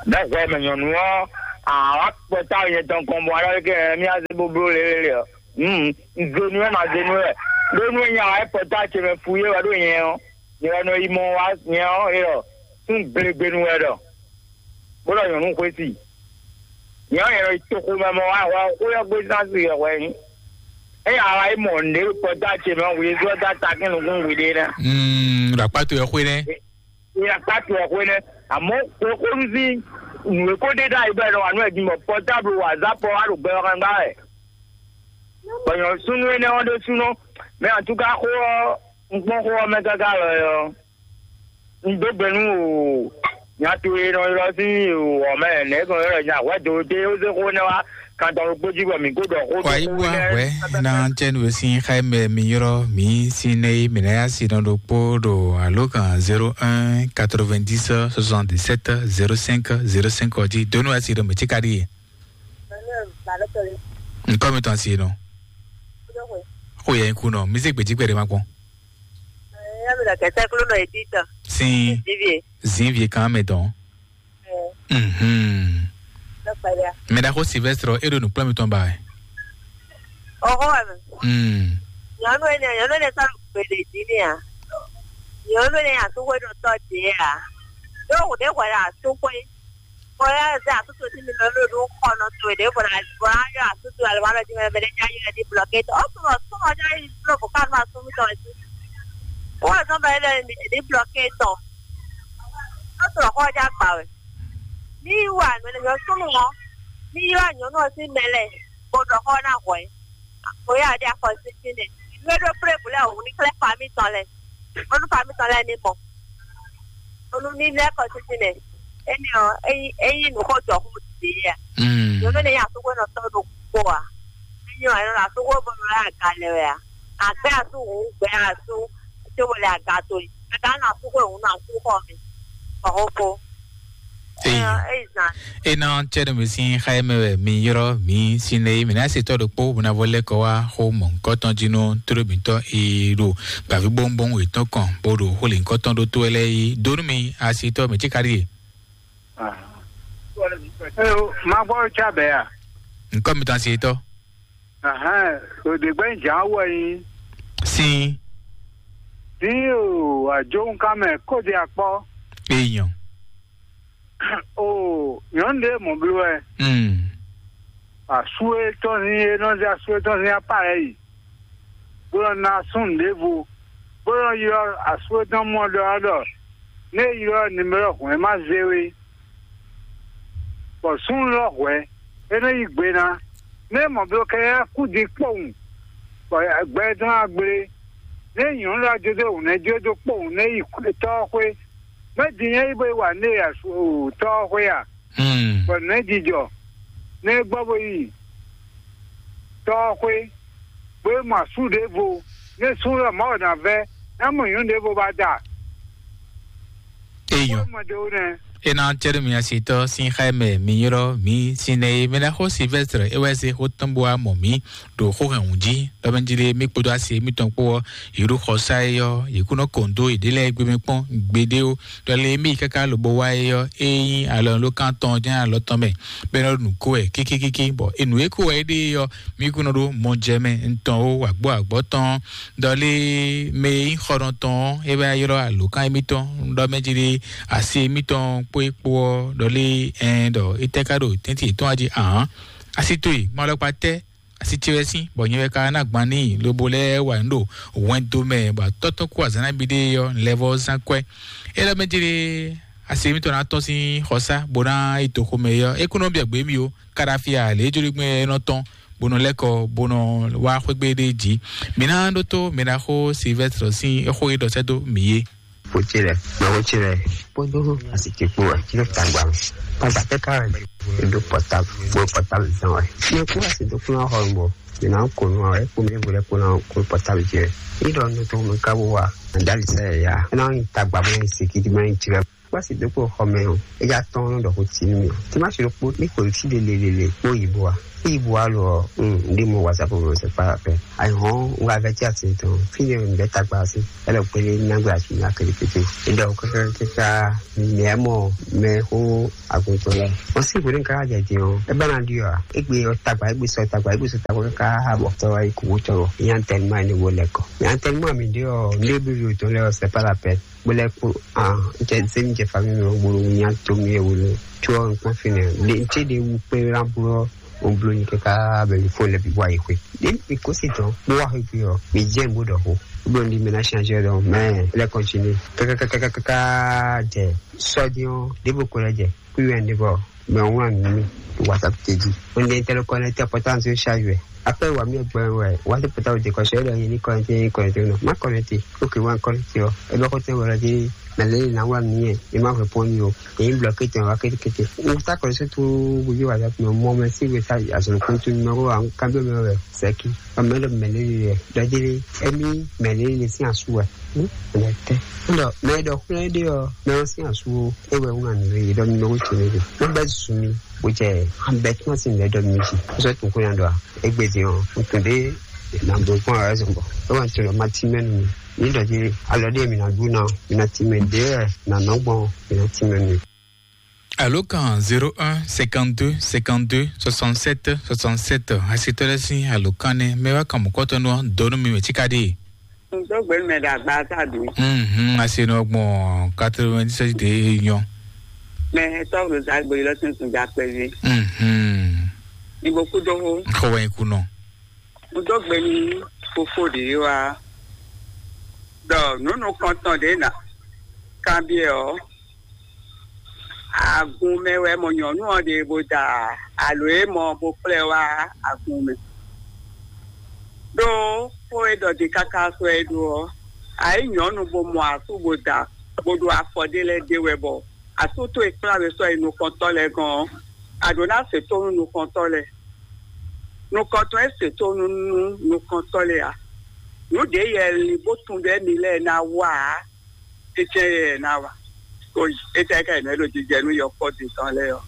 Bɛ́ hwɛ mɛ nyɔ̌nu ɔ́, àwa kpɔtá nyɛ tɔn kɔn bɔ alɔ kɛ mí azé bóbló lélele ɔ́. Hmm, zenu wɛ ma zenu wɛ. Ɖó nú nya wɛ kpɔtá ce mɛ fu yé wɛ ɖó nyɛ ɔ́, nyɛ wɛ nɔ yi mɔ wá nyɛ ɔ́ é ɔ́, tún gbegbenu wɛ ɖɔ. Bó ɖɔ nyɔ̌nu xwé si. Nyɛ ɔ́, nyɛ nɔ yi toxo mɛ mɔ wá hwɛ xó yɔ gbé sánsì yɔ hwɛ nyí. Ényí àwa yi mɔ nǔɖé kpɔtá ce mɛ ɔ́, wǔyé zɔ́ dá takín nukún wǔɖé nɛ́. Mm, ɖo akpá towe xwé nɛ́. Ìyá kpátu ɔ̀hwe nɛ, àmọ́ kókó ń sí nǔ e kó ɖe ɖ'ayǐ bɔ è nɔ wa nú ɛ din bɔ pɔtáblu wazapɔ wá ɖo gbɛ ɔ́ hɛn gbá wɛ. Bɔ nyɔ̌súnú énɛ́ ɔ́ ɖésúnɔ, mɛ atúká xó ɔ́, un kpɔ́n xó ɔ́ mɛ káká lɔ ɔ́, un dó gbe nú o nya towe e nɔ ylɔ́ sín o ɔ̌ mɛ nɛ̌ gbɔn ylɔ́ nya hwɛ̌ do dé ó zé xó énɛ́ wá kan tɔn ɖokpó jí bɔ mǐ kó ɖɔ xó dó Wàyí xó wá énɛ́ hwɛ̌ ná jẹ́ nu e sín xá mɛ mi ylɔ́ mǐ sín nɛ́ é mǐ ná yá si nɔ ɖokpó ɖo alǒkan zéro un quatre-vingt-dix soixante-dix-sept zéro cinq zéro cinq ɔ́ jí donu asi ɖo mɛ̌ cí ka ɖíe. Ŋkɔ mi tɔn asi nɔ. Xo yɛ ŋku nɔ mi zé gbèjì gbɛɖe ma kpɔn. Sin zinvie kan mɛ tɔn. Mhm. Mɛ ɖaxó Sylvestre e ɖo nǔkplɔ́n mitɔn ba wɛ. Ɔxɔ wɛ mɛ. Mm. Nyɔnu ene nyɔnu ene sɔ́ nɔ gbele dzi n'i a? Nyɔnu ene asúxwé nɔ tɔ́ dě a? Ɖó hǔn ɖé hwɛ ɖo asúxwé. Bɔ yá zɛ asútò tí mi lɔ ló ɖó xɔ nɔ towe ɖě bɔ na bɔ na yɔ asútò alɔ ma lɔ jí mɛ mɛ ɖé já yɔ ní blɔké tɔ. Ó tún lɔ tún lɔ já yi blɔ bɔ ká ma sún mi tɔ jí. Ó wà sɔn bɛ lɛ ní blɔké tɔ. Ó tún lɔ xɔ já gbà wɛ. Ní wà nɔ lɛ yɔ súnú wọn. Ní yɔ nyɔnu ɔ sí mɛ lɛ. Bó ɖɔ xɔ ná hwɛ. Bóyá a ɖe akɔ sísí nɛ. Nú é ɖó kplé bǔ lɛ́ɛ wǔ ní xlɛ́ famí tɔn lɛ́ɛ. Bónú famí tɔn lɛ́ɛ ní mɔ. Bónú ní lɛ́ kɔ sísí nɛ. Énɛ́ ɔ́, é nyí é nyí nǔ xó jɔ xó dǐ a? Mm. Nyɔ̌nu énɛ́ nyí asúgbó nɔ tɔ́ ɖokpó a? É nyí wǎ nɔ asúgbó bónú lɛ́ aga lɛ wɛ a? Àgbɛ́ asú hǔn gbɛ́ asú cóbó lɛ aga to yi. Aga nɔ asúgbó hǔn nɔ asú xɔ mi. Bɔ xó kó. Eyi. Eyi zan. Ena cɛɖɛ mi sin xa mɛ wɛ mi yɔrɔ mi sin ne mi na se tɔ ɖokpo buna vɔ lɛ kɔ wa xo mɔ nkɔtɔn jinu toro mitɔ e ɖo gbavi bɔnbɔn etɔn kɔn bo ɖo xo le nkɔtɔn ɖo to lɛ yi donu mi asi tɔ mi ti kari ye. Eyo, ma gbɔ tsa bɛ ya. Nkɔ mi tɔn asi tɔ. Ahɛn, òde gbɛ nya wɔ yi. Sin. Sin o, ajo nkan mɛ kóde akpɔ. Eyan. O nyɔnu ɖé mɔ bló wɛ. Mm. Asú e tɔn sín e nɔ zé asú e tɔn sín apá lɛ́ɛ yi, bó nɔ ná súnnu ɖěvo, bó nɔ ylɔ́ asú e tɔn mɔ ɖɔ ɔ́ ɖɔ, ní é ylɔ́ nimero hwɛ̌n ma zé we, bɔ súnnu lɔ hwɛ̌, é nɔ yí gbe ná. Ní é mɔ bló kɛ é kú din kpowun, bɔ gbɛ e tɔn wá gblé, ní é nyɔ̌nu lɔ jó dó hǔnɛ́ jó dó kpowun ní é yi tɔ́ ɔ́ xwé. Mɛ̌ din nyɛ yi bo yi wa nú e tɔ́ ɔ́ xwé a? Bɔ nɛ̌ jijɔ nɛ́ gbɔ bo yi tɔ́ ɔ́ xwé, bó yi mɔ asú ɖěvo, nɛ́ sú wɛ Mawu ná vɛ́, ná mɔ nyɔ̌nu ɖěvo ba da. Eyɔ. Bó mɔ ɖěvo nɛ́. Ena cɛɖe mi asitɔ sin xá mɛ mi ylɔ́ mi sin nɛ e mɛ ná xó Silvɛstre é wɛ se xó tɔn bo wá mɔ mi ɖo xó hɛn wǔ jí, ɖɔ mɛ jí lé mi kpódó asi mitɔn kpó ɔ́, yě ɖo xɔsá é ɔ́, yě kú nɔ kɔn dó yěɖée lɛ́ɛ gbé mɛ kpɔ́n gbeɖé ó. Ɖɔ lě e mì káká lobo wá é ɔ́, é nyí alɔnulókan tɔn jɛ́n alɔ tɔn mɛ, bɔ é nɔ ɖo nǔ kó wɛ kíkíkíkí, bɔ e nǔ e kó wɛ é ɖe é ɔ́, mì kún nɔ ɖó mɔjɛmɛ ntɔn ó, wǎgbó wǎgbɔ́ tɔn. Ɖɔ lě e mɛ e nyí xɔnɔ tɔn ɔ́, é wɛ ylɔ́ alǒkan émítɔn, ɖɔ mɛ jí ɖe asi émítɔn kpó é kpó ɔ́, ɖɔ lě e ɛn ɖɔ é tɛ́ ká ɖo tɛ́ntin yětɔn wá jí ahǎn. Asi towe, gbɔn alɔkpa tɛ́ asi ce wɛ sín, bɔ nyɛ wɛ ka ná gban n'i lobo lɛ́ɛ wa nǔ ɖo hwɛndo mɛ, bɔ atɔ́ tɔn kú azǎn ná bi ɖe ɔ́, lɛvɔ́ zán kwɛ́. É lɛ́ mɛ jlé asi mitɔn ná tɔ́n sín xɔsá, bó ná yi toxo mɛ é ɔ́, é kún nɔ biɛ gbě mì ó, káɖáfíà lě jló gbɛn é nɔ tɔn, bó nɔ lɛ́ kɔ, bó nɔ wá xwégbé ɖé jí. Mǐ ná ɖótó mǐ ná xó Silvɛ́stre sín xó e ɖɔ sɛ́ dó mǐ é. Kpo ce lɛ, mɛ ko ce lɛ, kpódó asi ce kpo wɛ, tí ló ta gba mɛ. Tagba tɛ ka wɛ, e do pɔtabu, bo pɔtabu zan wɛ. Ne kó asi do kplɔn xɔ bɔ, mi na ko nu wɛ, ko mi bo lɛ ko na ko pɔtabu jɛ. Yi dɔ nu to mi ka bo wa, andali sɛ ya. Na yi tagba mɛ siki di mɛ ci lɛ. Kpasi dó kpo xɔ mɛ ɔ́, é já tɔ́n nɔ ɖɔ xó tsi nú mì. Tí má si ɖokpó ní xweyǐ sí lelelele kpó yǐbo a. Yǐbo a lo ɔ́, un ɖi mɔ whatsapp mɛ sɛ kpá pɛ. Ayi hɔn un wá vɛ tí a ti tɔn. Fí ne un bɛ tagba sí. Ɛlɛ gbélé nyagbe asi nya kele kété. É ɖɔ kákákáká mɛ mɔ mɛ xó aguntɔ lɛ. Wọ́n sì gbóni ká jẹ dín ɔ́. É bá na ɖi ɔ́. É gbé ɔ tagba, é gbé sɔ tagba, é gbé sɔ tagba káká bɔ tɔ́ wá yi kú wó tɔ́. Ìyá ń tẹnu mọ́ àní wo lẹ́kọ̀ọ́. Ìyá ń tẹnu mọ́ àmì ɖé ɔ́, ndé bí yóò tó lɛ ɔ́, c'est pas la peine. Bó lɛ́ kpó ah, n cɛ zé mi jɛ famille mi ɔ́, bolo nya to mi ɛ wolo. Tso ɔ́, n kpɔ́n fínɛ́. Ɖe n cé ɖe wu kpé ná bló ɔ́, o bló nyi káká bɛ mi fó lɛ bi wá yi xwe. Ɖe mi kó si tɔn, bó wá xwe gbe ɔ́, mi jɛ n bó ɖɔ xó. Bó n di mi ná change ɔ́ dɔn, mɛ lɛ continue. Kákákákákáká jɛ sɔ́ dín ɔ́, ɖěvo ko lɛ jɛ kú yɛ ní bɔ mɛ ɔ́ wlán nǔ mì ɖo whatsapp te jí. Ó ní tɛ́ ló kɔnɛ́tí ɔ́ pɔ́tánsì ó ṣáájú ɛ. Après wà mí ẹgbẹ́ wẹ̀ wá sí pɔ́tá òde kɔ̀ṣẹ́ lọ yẹn ní kɔnɛ́tí yẹn ní kɔnɛ́tí nɔ. Má kɔnɛ́tí, ókè wá kɔnɛ́tí ɔ. Ẹ bá kó tẹ́ wọ́n lọ dé mɛ lé ní wá mí yẹn. Ẹ má hwɛ pɔn mí o. Èyí blɔ kéte wá kétékété. N ta kɔnɛ́tí tó gbogbo whatsapp nɔ mɔ mɛ sí wɛ sá àzɔ̀rò kó tó nínú ɔ́ wá kábíyọ̀ mɛ wẹ̀ sẹ́kì. Ɔmọ ɛ lɔ mɛ lé yẹ dɔdele ɛmi mɛ lé lé sí asú wɛ. Mɛ tɛ. Ndɔ mɛ dɔ xlɛ ɖe ɔ mɛ ɔ sí asú o. E wɛ ŋun anu ye dɔ mi nɔ tso ne de. Mo bɛ zu mi. Bo jɛ an bɛ tuma si lɛ dɔ mi si. Ko sɔ tun ko yan dɔ a. Egbe di ɔ. N tun de na bo kpɔn ɛ zɔn bɔ. E wa n tun dɔ ma ti mɛ nu mi. Ni dɔ di alɔ de mi na du na. Mi na ti mɛ de ɛ na nɔ gbɔn. Mi na ti mɛ nu. Alo kan zéro un cinquante-deux cinquante-deux soixante-sept soixante-sept. Asitɔ lɛ sin alo kan ne mɛ wa kan mɔkɔtɔ nɔ donu mi mɛ tika de. N tó gbé mɛ ɖo agba sábì. Mhm, asi nɔ gbɔn quatre-vingt-dix-sept de nyɔ. Mɛ tɔgbo zagbe lɔ tún tún dza kpɛvi. Mhm. Ibo kudo ho. Xɔ wɛ kunɔ. N tó gbé ní fofo ɖě wá. Ɖɔ nǔnú kɔntɔn ɖě nà kanbyɛ ɔ́. Agun mɛ wɛ mɔ nyɔ̌nu ɔ́ ɖe bó da alo é mɔ bó kplá ɛ wá agun mɛ. Ɖó xó e ɖɔ din káká sɔ́ ɛ ɖó ɔ́, a yí nyɔ̌nu bó mɔ asú bó da bó ɖo afɔ ɖé lɛ́ɛ ɖe wɛ bɔ asú towe kplá we sɔ́ yi nukɔntɔ́ lɛ́ɛ gɔ́n ɔ́, a ɖǒ ná se tónú nukɔntɔ́ lɛ́ɛ. Nukɔntɔn e se tónú nú nukɔntɔ́ lɛ́ɛ ǎ. Nǔ ɖě yɛ lin bó tunwun ɖɔ émí lɛ́ɛ ná wa ǎ. Tɛ́tɛ́ yɛ ná wa? Ko yi, étɛ́ ká yě mɛ ɖo jijɛ nú yɔkpɔ́ din tɔn lɛ́ɛ ɔ́?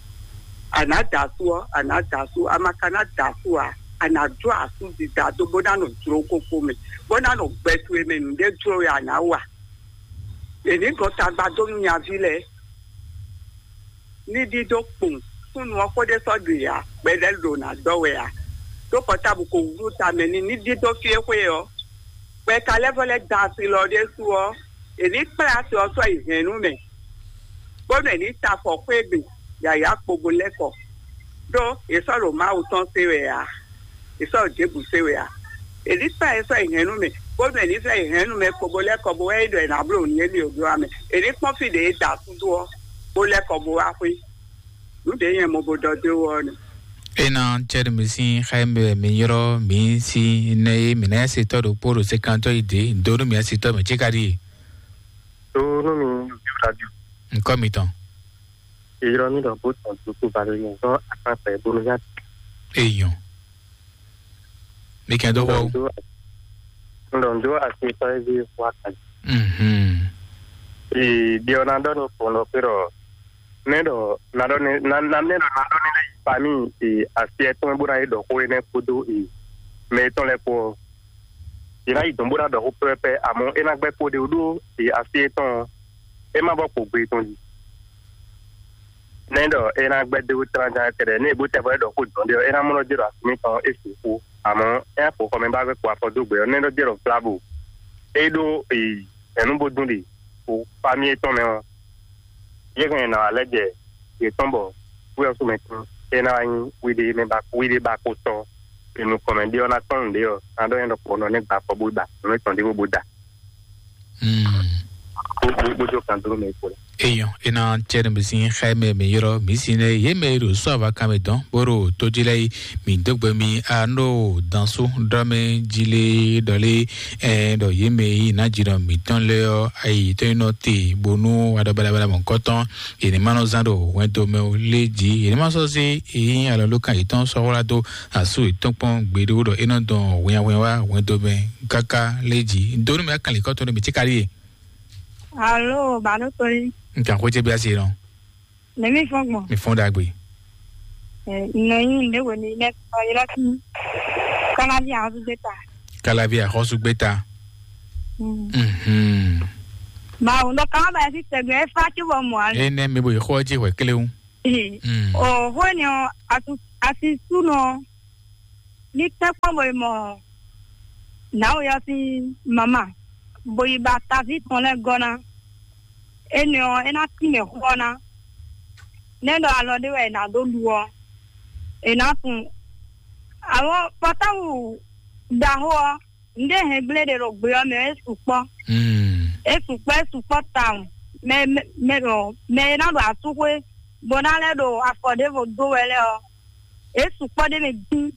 A nǎ da asú ɔ́, a nǎ da asú, a ma ka ná da asú ǎ, a nǎ jó asú dida dó bó ná nɔ jló kókó mɛ, bó ná nɔ gbɛ towe mɛ nǔɖé jló wɛ a nǎ wa. È nǐ gɔn tagba dó nú nyaví lɛ́ɛ, ní ɖíɖó kpowun súnnu ɔ́ xó ɖé sɔ́ ɖu yǎ, gbɛɖɛ́ ɖo ná dɔ́ wɛ ǎ. Ɖó kɔtábu ko wlú tamɛ n'i ní ɖíɖó fí e xwé ɔ́, bɔ è ka lɛ́ vɔ́ lɛ́ da asi lɔ ɖésú ɔ́, è nǐ kplá asi ɔ́ sɔ́ yi hɛ̌nnu mɛ, bónú è nǐ ta afɔ xwé gbe yǎyá kpogbo lɛ́ kɔ. Ɖó è sɔ́ ɖo Mawu tɔn sé wɛ ǎ, è sɔ́ ɖo Jebu sé wɛ ǎ. È nǐ kplá ɛ sɔ́ yi hɛ̌nnu mɛ, bónú è nǐ sɔ́ yi hɛ̌nnu mɛ kpogbo lɛ́ kɔ bó wɛ é ɖɔ è nǎ bló nǔ émí ò ɖó ǎ mɛ. È nǐ kpɔ́n fí ɖě è da asú dó ɔ́, bó lɛ́ kɔ bó wá xwé. Nǔ ɖě nyɛ mo bo ɖɔ dó wɔ ɔ́ nɛ. Ena cɛɖi mi sín xá mi wɛ mi ylɔ́ mi sín nɛ e mi ná se tɔ́ ɖokpó ɖo sekantɔ́ yi dě dó nú mi asi tɔ́ mɛ cíkaɖi. Tó nú mi radio. Ŋkɔ mitɔn. Ylɔ́ mi ɖɔ bó tɔn dúkú balẹ̀ yẹn zɔn akpákpá ẹ̀ bónú yá. Èèyàn. Mi kẹ́ dó wọ́. Ŋdɔ ŋdɔ asi tɔ́ ezi fún akadzi. Mhm. Ee, ɖiɔ na ɖɔ ni kplɔn ɖɔ kpe ɖɔ ne ɖɔ na ɖɔ ni na na ne ɖɔ na ɖɔ ni lɛ yi pa mi ee asi ɛtɔn bó na yi ɖɔ xó énɛ́ kpódó ee mɛ etɔn lɛ kpó ɔ́. Yě ná yi dɔn bó ná ɖɔ xó pɛ́pɛ́, amɔ̌ é ná gbɛ́ kpó ɖé wú ɖó e asi étɔn ɔ́, é má bɔ kpo gbe tɔn jí. Nɛ́ ɖɔ é ná gbɛ́ dó tlánján kɛɖɛ, ní è bó tɛ bɔ é ɖɔ xó dɔn ɖé ɔ́, é ná mlɔ́ jɛ ɖo asi mǐtɔn é sixú. Amɔ̌ é ná xo xɔmɛ bá gbɛ́ kpo afɔ dó gbe ɔ́, nɛ́ ɖɔ jɛ ɖɔ vlabo. É ɖó hɛ̌nnu bó dún ɖe xo fámí étɔn mɛ ɔ́, yě hɛn nɔ alɛ jɛ yě tɔn bɔ wíwɛ́ sú mɛ tín é ná wá nyí wíɖé mɛ ba wíɖé ba kó tɔ́. È nukɔn mɛ ɖé ɔ́ ná tɔ́n nǔɖé ɔ́, ná ɖɔ nyɛ ɖɔkpɔ nɔ nɛ́ gba afɔ bó gba nǔ étɔn ɖé bó bó da. Bó- bó- bójú kan dúró mɛ kó la. Eyɔn, ena tsɛ ne mi sin xɛ mɛ mi yɔrɔ mi sin ne ye mɛ ɖo sɔ ava kan mɛ dɔn boro to ji lɛ yi mi dogbe mi ano dansu dɔmɛ ji le dɔle ɛ dɔ ye mɛ yi na ji dɔ mi tɔn lɛ ɔ ayi tɔn yi nɔ te bonu wa dɔ balabala mɔ kɔtɔn. Yɛnɛ ma nɔ zan ɖo hwɛndo mɛ o lé dzi yɛnɛ ma sɔ se eyi alɔ ló kan yetɔn sɔwla do asu yetɔn kpɔn gbeɖo ɖɔ enɔ dɔn hwɛnhwɛn wa hwɛndo mɛ kaka lé dzi donu mɛ akan likɔtɔn ɖo mi tsi kali ye. Alo, balo to yi. Nkan xwé ce bí asi nɔ. Nɛmi fɔn gbɔn. Mi fɔn dagbe. Nɔ nyi nde wo ni nɛ kɔ yɛrɛ kun. Kalavi a hosu gbeta. Kalavi a hosu gbeta. Mhm. Ma wo ndo kama ba si tɛgbɛ fa ci bɔ mo ali. Ene mi bo yi xɔ ji hwe kelewu. Mm. O hwe ni o atu asi su nɔ. Ní tɛ́nkpɔ́n bo yi mɔ nǎwe ɔ́ sín mama, bo yi ba taví tɔn lɛ́ɛ gɔ́ ná. Énɛ́ ɔ́, é ná tínmɛ xó ɔ́ ná. Nɛ́ ɖɔ alɔ ɖé wɛ è nǎ dó ɖu ɔ́, è nǎ tunwun. Amɔ̌ pɔtáwu ɖaxó ɔ́, nǔɖé hɛn gblé ɖe ɖo gbe ɔ́ mɛ ɔ́, é sukpɔ́. Mm. É sukpɔ́, é sukpɔ́ tawun. Mɛ mɛ mɛ ɖɔ mɛ e ná ɖo asúxwé bó ná lɛ́ ɖo afɔ ɖěvo dó wɛ lɛ́ɛ ɔ́, é sukpɔ́ ɖ'é mɛ dín.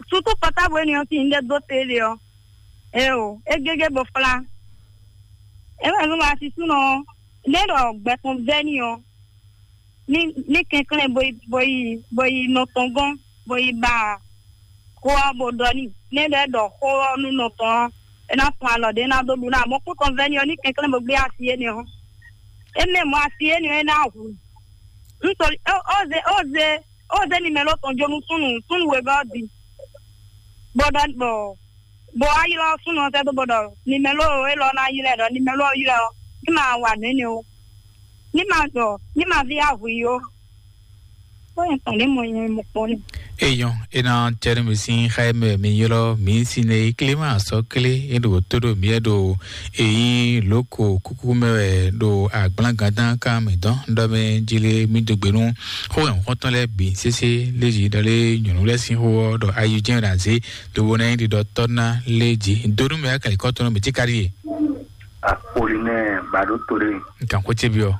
Sútú pɔtábu énɛ́ ɔ́ sín ɖɛ dó te ɖe ɔ́, eo, é gégé bo flá. É wɛ nú asisúnɔ ɔ́, nɛ́ ɖɔ gbɛ tɔn vɛ́ n'i ɔ́, ní ní kɛnklɛ́n bo yi bo yi bo yi nɔ tɔn gɔ́n, bo yi ba xó ɔ́ bo ɖɔ n'i. Nɛ́ ɖɔ é ɖɔ xó ɔ́ nú nɔ tɔn ɔ́, é ná fun alɔ ɖě ná dó ɖu ná. Amɔ̌ kú tɔn vɛ́ n'i ɔ́, ní kɛnklɛ́n bo gbé asi énɛ́ ɔ́, é mɛ mɔ asi énɛ́ ɔ́ é ná hu. Nítorí ó ó zé ó zé ó zé nimɛlo tɔn jó nú súnnu súnnu wegɔ́ ɔ́ din, bó ɖɔ bɔ bó wá ylɔ́ súnnu ɔ́ sɛ́ dó bó ɖɔ nimɛlo élɔ́ ná ylɔ́ ɛ ɖɔ nimɛlo ɔ́ ylɔ́ ɛ ɔ́, ní ma wa nǔ énɛ́ ó, ní ma ɖɔ ní ma ví ahu i ó. Ó nyɛ tɔn ní mo nyɛ mo kpɔ́n ní. Eyɔn, ena cɛrɛ mi sin xɛ mɛ mi ylɔ mi sin ne klima sɔ klé e ɖo tó ɖo mi ɖo eyi loko kuku mɛ wɛ ɖo agblagada kan mi dɔn ɖɔ mɛ jile mi dogbe nu xo yɔn xɔtɔn lɛ bi sese leji ɖɔ le nyɔnu lɛ sin xo ɔ ɖɔ ayi jɛn ɖa ze ɖo bo na yi ɖiɖɔ tɔ na leji donu mɛ akali kɔtɔn mi ti kari ye. Apolinɛ Baɖo to ɖe. Nkan ko ce bi ɔ.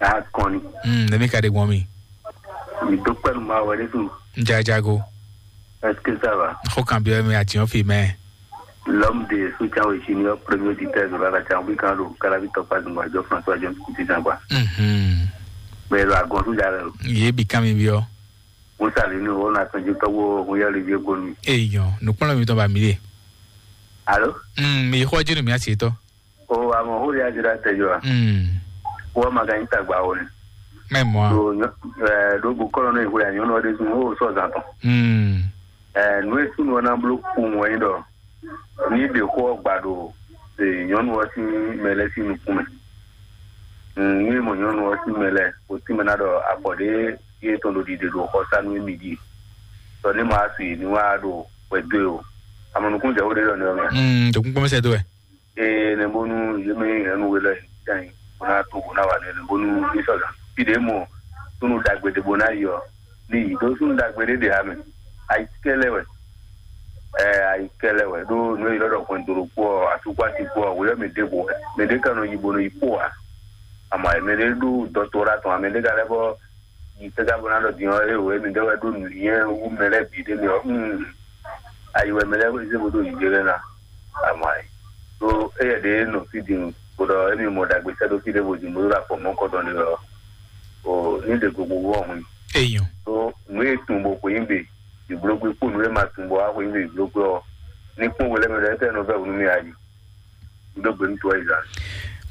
Akɔni. Hmm, nemi ka ɖe gbɔn mi. Mi do kpɛnu ma wɛ ɖe tu. N ja jago. Est-ce que ça va? Xo kan bi ɔ mi ati ɔ fi mɛ. L'homme de soutien au Junior, premier auditeur de la Chambre, quand le Calabi Topaz Ngwadjo, François John Kuti Zangwa. Mhm. Mais la gonsu jare. Ye bi kan mi bi ɔ. Musa le ni o na tɔnju tɔwo o ya le je ko ni. Eyɔn, nukpɔnlɔ mi tɔn ba mi de. Allô? Mm, mi xɔ jinu mi asi tɔ. O amɔ o ya jira te jo. Mm. Wo ma ga yin tagba o ni. Mɛ mɔ. Do eh do bu kɔlɔ ne ko ya nyɔnu de sun o so zan tɔn. Mm. Eh nu e sun wona blo ku mo yin do. Ní ɖe xó ɔ́ gba ɖo nyɔ̌nu ɔ́ sín mɛ lɛ́ɛ sín nukún mɛ. Ní mɔ nyɔ̌nu ɔ́ sín mɛ lɛ́ɛ, o tínmɛ ná ɖɔ afɔ ɖě yě tɔn ɖo ɖiɖe ɖo xɔsánú émí ɖíe. Tɔ ní ma su yě ní wá ɖo hwɛ dó e o. Amɔ nukún jɛ xó ɖé ɖɔ nɛ́ ɔ́ mɛ. Mm, ɖo kúnkún mɛ sɛ dó wɛ. Ee, nɛ bónú yě mɛ hɛn nú we lɛ́ɛ yě tɛn bó ná tó bó ná wa nɛ nɛ bónú ní sɔ́ gǎn. Fí ɖě mɔ súnnu ɖagbe ɖé bó ná yi ɔ́, ní yi ɖó súnnu ɖagbe ɖé ɖe ǎ mɛ. Ayikɛ́ lɛ́ wɛ. Ɛ ayikɛ́ lɛ́ wɛ ɖó nǔ e yě lɔ́ ɖɔ hwɛndo ɖokpó ɔ́, asúkpási kpó ɔ́, wǒ yɔ́ mɛ ɖěvo hɛn. Mɛ ɖé ka nɔ yi bó nɔ yi kpó ǎ. Amɔ mɛ ɖé ɖó dɔktora tɔn ǎ, mɛ ɖé ka lɛ́ bɔ yi tɛ́ ka bó ná ɖɔ din ɔ́, é wǒ é mɛ ɖé wɛ ɖó nǔnywɛ́ wú mɛ lɛ́ɛ bǐ ɖé mɛ ɔ́, ayi wɛ mɛ lɛ́ɛ zé bó ɖó yi jɛ lɛ́ɛ ná. Amɔ ayi ɖó éyɛ ɖě nɔ fí din bó ɖɔ émi mɔ ɖagbe sɛ́ ɖó fí ɖé bó din bó ɖó afɔ mɔ̌kɔtɔn ɖé ɔ́, o ní ɖe gbogbo wɔ hun. Eyɔn. Ɖó nǔ e tun bó xweyín gbe ìblógbé kpó nǔ e ma tun bó wá xweyín gbe ìblógbé ɔ́, ní kpɔ́n we lɛ́ mɛ ɖɔ étɛ́ nɔ vɛ́ wǔ nú mì ayi. Ɖó gbe nú to wá yi zan.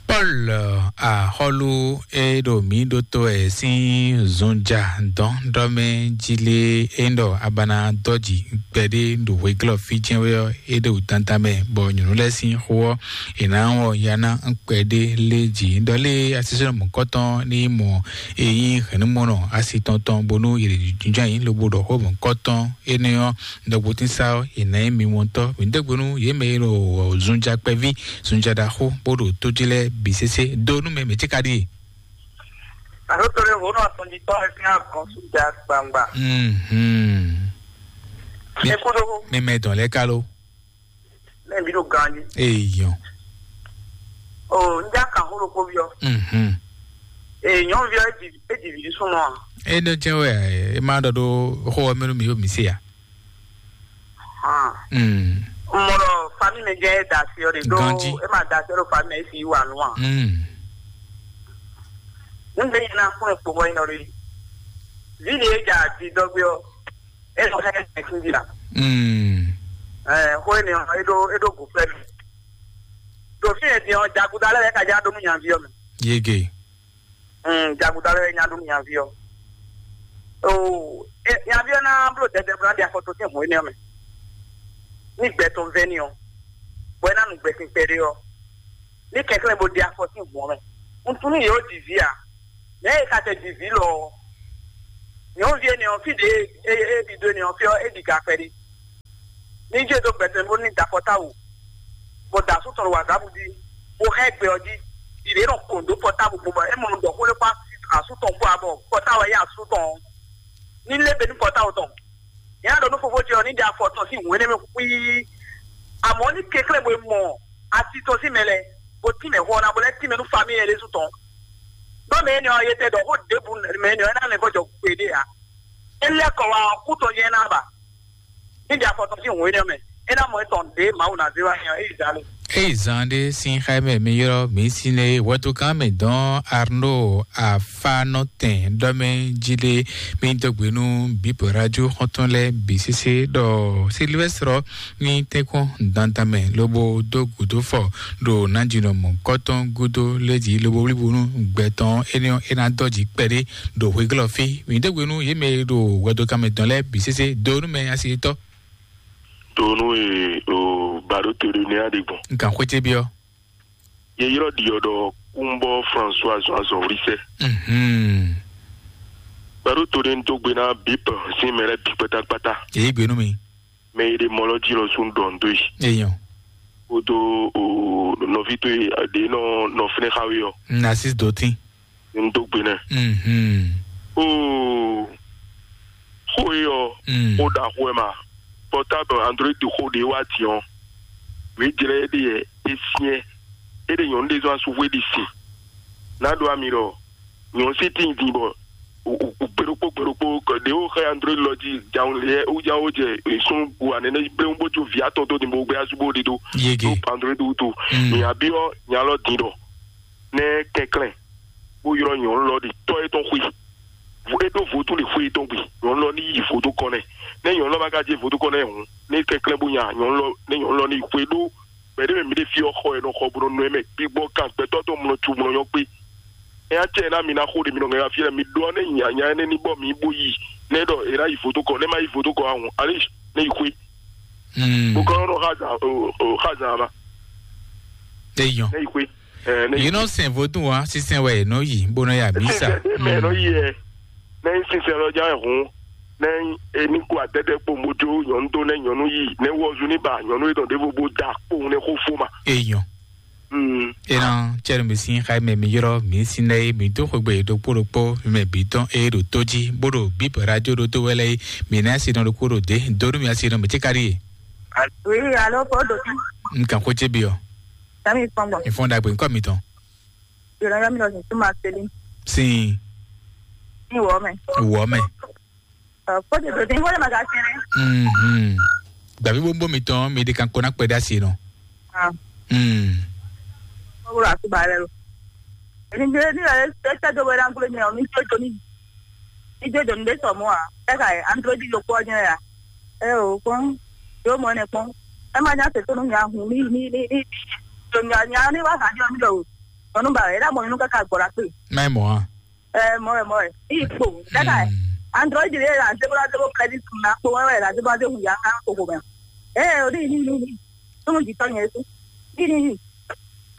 Paul, axɔlu e ɖo mǐ ɖótó ɛ sín zunja dɔn ɖɔ mɛ jí lé e ɖɔ abana dɔji kpɛɖé ɖo hweglɔ fí jɛn wɛ ɔ́, e ɖo dandan mɛ bɔ nyɔ̌nu lɛ́ɛ sín xó ɔ́, è nǎ wɔ ya ná kpɛɖé lé jí ɖɔ lé asisɛnɔ mɔ̌kɔtɔn ní mɔ e nyí hɛ̌nnumɔnɔ asi tɔn tɔn bónú yě jínjɔ́n ayǐ lobo ɖɔ xó mɔ̌kɔtɔn énɛ́ ɔ́, ɖɔkpɔtínsá ɔ́, è nǎ nyí mi wɔntɔ́. Mǐ dó gbe nú yě mɛ e ɖo zunja kpɛví, zunja ɖaxó, bó ɖo tó jí lɛ́ɛ bǐ sésé. Dó nú mɛ mɛ̌ ce ka ɖíe? Àló to ɖé hǒnú atɔn jí tɔn ɛ fín agɔn súnja gbangba. Mhm. Mi- Ẹ kú dó. Mi mɛ dɔn lɛ kalo. Mɛ bi ɖo ganji. Eyɔn. O n ja kan hó ɖokpó bi ɔ. Mhm. Ee nyɔnuvi ɔ e ɖi e ɖi vi súnmɔ a? E ɖo jɛ wɛ e ma ɖɔ ɖo xó ɔ́ mɛ nú mi yó mi se ya. Hàn. Mm. Mɔ ɖɔ fami mɛ jɛ e da asi ɔ ɖe ɖo Ganji. E ma da asi ɔ ɖo fami mɛ e si yi wa nu a? Mm. Nígbà yẹn náà fún ipò wọ́n yẹn lórí. Líle ìjà àti ìdọ́gbé ọ, ẹ lọ hẹ́ ẹ kí n jìnnà. Mm. Ẹ kó ènìyàn édó édó gò fẹ́ mi. Tòfin ẹ̀ tiẹ̀ jagunda lẹ́yìn kájà dó mú yàn fi ọ mi. Yege. Mm, jaguda lɛ nya ɖo nyavi ɔ. O, e, nyavi ɔ na blo dɛdɛ bla ɖi afɔtɔ sin hun ene ɔ mɛ. Ni gbɛ tɔn vɛ ni ɔ, bɔ e na nu gbɛ sin kpɛɖe ɔ. Ni kɛnklɛn bo ɖi afɔ sin hun ɔ mɛ. Un tunú yě o ɖi vǐ a? Nɛ̌ e ka tɛ ɖi vǐ lɔ ɔ? Nyɔ̌nuví énɛ́ ɔ́, fí ɖě e e ɖi dó énɛ́ ɔ́, fí ɔ́, é ɖi ga kpɛɖé. Ní jɛ dó gbɛtɔ́ bó ní da pɔ́táwu, bó da asú tɔn ɖo wǎgábu jí, bó hɛn gbɛ ɔ́ jí, ɖi ɖě nɔ kɔn dó pɔ́táwu gbɔn bɔ é mɔ ɖɔ xó lé kpó asú tɔn kpó abɔ pɔ́táwu ɔ́ yá asú tɔn ɔ́. Ní lé be ní pɔ́táwu tɔn. Nyɛ ɖɔ nú fofó ce ɔ́ ní ɖe afɔ tɔn sín hǔn énɛ́ mɛ xwíí. Amɔ̌ ní kɛnklɛ́n bo e mɔ asi tɔn sín mɛ lɛ́ɛ, bó tín mɛ hɔn ná bó lɛ́ tín mɛ nú famíi lɛ́ɛ ɖésú tɔn. Ɖó mɛ énɛ́ ɔ́, yetɛ́ ɖɔ xó ɖěbǔ mɛ énɛ́ ɔ́ é ná lɛ́ vɔ́ jɔ kpéɖé ǎ. É lɛ́ kɔ wá ɔ́, kú tɔn jɛ́n é ná ba. Ní ɖi afɔ tɔn sín hǔn énɛ́ mɛ, é ná mɔ étɔn ɖě Mawu ná zé wá nyɛ ɔ́, é yi zǎn lo. Eyi zan ɖe sin xá mɛ mi yrɔ mi sin ne wɛtu kan mɛ dɔn Arnaud Afanɔtɛn ɖɔ mɛ jí ɖe mi dɔgbe nu bip radio xɔntɔn lɛ bi sese ɖɔ Sylvestre ni tɛnkɔn dandan mɛ lobo do gudo fɔ ɖo nanjinɔ mɔ kɔtɔn gudo lɛji lobo wlibo nu gbɛtɔn eni ena dɔji kpɛɖe ɖo hweglɔ fi mi dɔgbe nu ye mɛ ɖo wɛtu kan mɛ dɔn lɛ bi sese do nu mɛ asi tɔ. Tonu e o baɖo to ɖe nɛ aɖe gbɔn. Nkan xwete biɔ. Ye yrɔ ɖiɔ ɖɔ kúnbɔ François azɔn azɔn wlisɛ. Mhm. Baɖo to ɖe n tó gbe ná bip sín mɛ lɛ bi kpátákpátá. Èyí gbénu mi. Mɛ yi ɖe mɔ lɔ jí lɔ sún ɖɔn dó yi. Èyàn. Kódó o nɔví tó yi ɖe nɔ nɔ fínɛ xawe ɔ. Nasis dotin. N dó gbe nɛ. Mhm. Oo, xó e ɔ, Mm. Xó ɖaxó wɛ ma. Portable Android xó ɖe wá din ɔ, wě jlɛ é ɖe yɛ é syɛ́n. É ɖe nyɔ̌nu ɖé zɔn asúxwé ɖi sin. Ná ɖó ami ɖɔ nyɔ̌nu sí tíin din bɔ gbeɖokpó gbeɖokpó ɖě wó xɛ Android lɔ jí jawun lɛ wújáwó jɛ sún bu anɛnɛ bléwún bó jó vǐ atɔn dó din bó gbé asú bó ɖe dó. Yege. Tó Android wútu. Mm. Nya byɔ́ nya lɔ din ɖɔ nɛ́ kɛnklɛ́n bó ylɔ́ nyɔ̌nu lɔ ɖi tɔ́ étɔn xwé. É ɖó vodún ɖi xwé étɔn gbe, nyɔ̌nu lɔ ní yi vodún kɔn nɛ. Nɛ́ nyɔ̌nu lɔ ma ka jɛ vodún kɔn nɛ hǔn, ní kɛnklɛ́n bó nya nyɔ̌nu lɔ, nɛ́ nyɔ̌nu lɔ ní yi xwé ɖó gbɛ̌ɖé mɛ mǐ ɖe fí ɔ́ xɔ wɛ nɔ xɔ bó nɔ nɔ ɛ mɛ gbígbɔ kan gbɛtɔ́ tɔn mlɔ cu mlɔ nyɔ́ kpé. Ɛ acɛ ná mi ná xó ɖe mi nɔ ŋɛ fí mi ɖɔ nɛ nya nya énɛ́ ní bɔ mi bó yi nɛ ɖɔ è ná yi vodún kɔn nɛ má yi vodún kɔn ahun alé ní yi xwé. Hmm. Bó kɔn nɔ xazan o o xazan ma. Eyɔn. Ní yi xwé. Ɛ ní yi. Yìí nɔ sɛn vodún wa sísɛn wɛ nɔ yi bó nɔ ya mísa. Sísɛn mɛ nɔ yi ɛ. Ní sísɛn lɔ já hun. Ní eni kó adɛdɛ kpo mojo nyɔnu tó ní nyɔnu yi ní wɔzu ní ba nyɔnu yi dɔn ɖěvo bó da kpowun ní xó fó ma. Eyɔn. Mm. Ena cɛnu mi sin xayi mɛ mi yrɔ mi sin lɛ yi mi dó xwegbe ɖokpó ɖokpó mi mɛ bǐ tɔn eye ɖo tó jí bó ɖo bíp radio ɖo tó wɛ lɛ yi mi ná si nɔ ɖokpó ɖo dé dó nú mi asi nɔ mi tsi ka ɖi ye. Oui, allô, Paul Doki. N kan xó tse bi ɔ. Sami fɔn gbɔ. Ìfɔn dagbe nkɔ mi tɔn. Yɔrɔ yɔ mi lɔ sin tuma seli. Sin. Ní wɔ mɛ. Wɔ mɛ. Fɔte tó dín fɔte ma ka sɛnɛ. Mhm. Gbàgbé bó ń bó mi tán mi di kan kó ná pẹ́ dá sí nù. Ah. Mm. Mo wúlò àtúbà rẹ lò. Èmi gbé ní ẹ ẹ tẹ́ tó wẹ́rẹ́ àgùlé mi ọ̀ mi tó tó ní. Mi tó tó ní bẹ́ẹ̀ sọ̀ mọ́ à. Ẹ kà ẹ android ló pọ̀ jẹ́ yà. Ẹ ò kpọ́n. Yóò mọ ẹnẹ kpọ́n. Ẹ má já tètè nù yà hùn mí mí mí mí. Tòmí ànyà ní wàhálà jọ mí lọ o. Ọ̀nù bàrẹ̀ ẹ dá mọ̀ nínú kẹ́kẹ́ àgbọ̀rá pé. Má ì mọ̀ á. Ɛ mɔ ɛ mɔ ɛ ipò dada ɛ android de la zebra zebra credit na kpo wɛ la zebra de ya ka koko mɛ. Ɛ o ni ni ni ni tunu jitɔ nyɛ su ni ni ni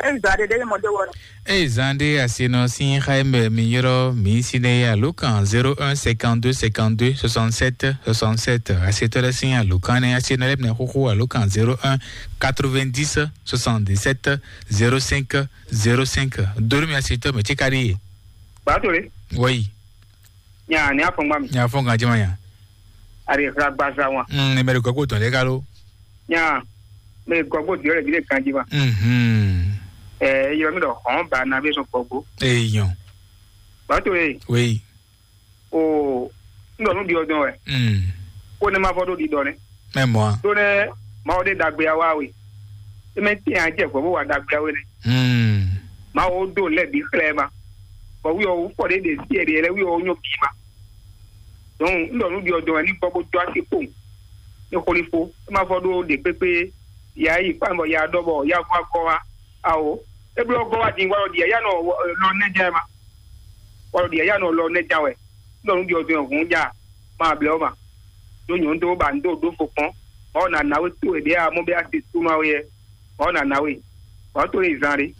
e zɔ ade de mɔ de wɔ. Eyi zan ɖe asi nɔ sín xá mɛ mi yrɔ mi si ne alo kan zéro un cinquante-deux cinquante-deux soixante-sept soixante-sept. Asi tɔ ɖe sín alo kan ne asi nɔ lɛ mɛ xoxo alo kan zéro un quatre-vingt-dix soixante-dix-sept zéro cinq zéro cinq. Dori mi asi tɔ mɛ tsi ka ɖi ye. Gbatole. Wɔyi. Nya ni afɔngba mi. Nya fɔn kan jima nya. Ari xla gbaza wa. Mm, ni mɛri gɔgbo tɔn de kalo. Nya me gɔgbo diɔ le bi de kan jima. Mhm. Eh, yɔ mi dɔ hɔn ba na be so gɔgbo. Eh, yon. Gbatole. Oui. O n ɖɔ nú ɖiɔ dɔn wɛ. Mm. Ko ne ma vɔ ɖo ɖiɖɔ nɛ. Mɛ mɔ a. Ɖó nɛ Mawu ɖe ɖagbe awa we. Eme tɛn a jɛ vɔ bó wa ɖagbe awe nɛ. Mm. Mawu ɖo lɛ bi xlɛ ma. Bɔ wi ɔ fɔ ɖe ɖe si ɛɖe lɛ wi ɔ nyɔ bi ma. Donc n ɖɔ nú ɖiɔ dɔn wɛ ní gbɔ bó dó asi kpowun. Ní xolifo é ma vɔ ɖó ɖe kpékpé ya yi kpán bɔ ya ɖɔ bɔ ya vɔ akɔ wa awo. É bló gɔ́ wá din wá lɔ ɖi yǎyá nɔ lɔ nɛ́ jɛ ma. Wá lɔ ɖi yǎyá nɔ lɔ nɛ́ jɛ wɛ. Nɔ nu ɖi ɔdun hǔn ja. Ma blɛ ma. Ɖó nyɔ̌nu dó ba nu dó ɖó fo kpɔn. Ɔ na na we to e ɖe a mɔ bɛ a se to ma we yɛ. Ɔ na na we. Ɔ to e zan ɖe.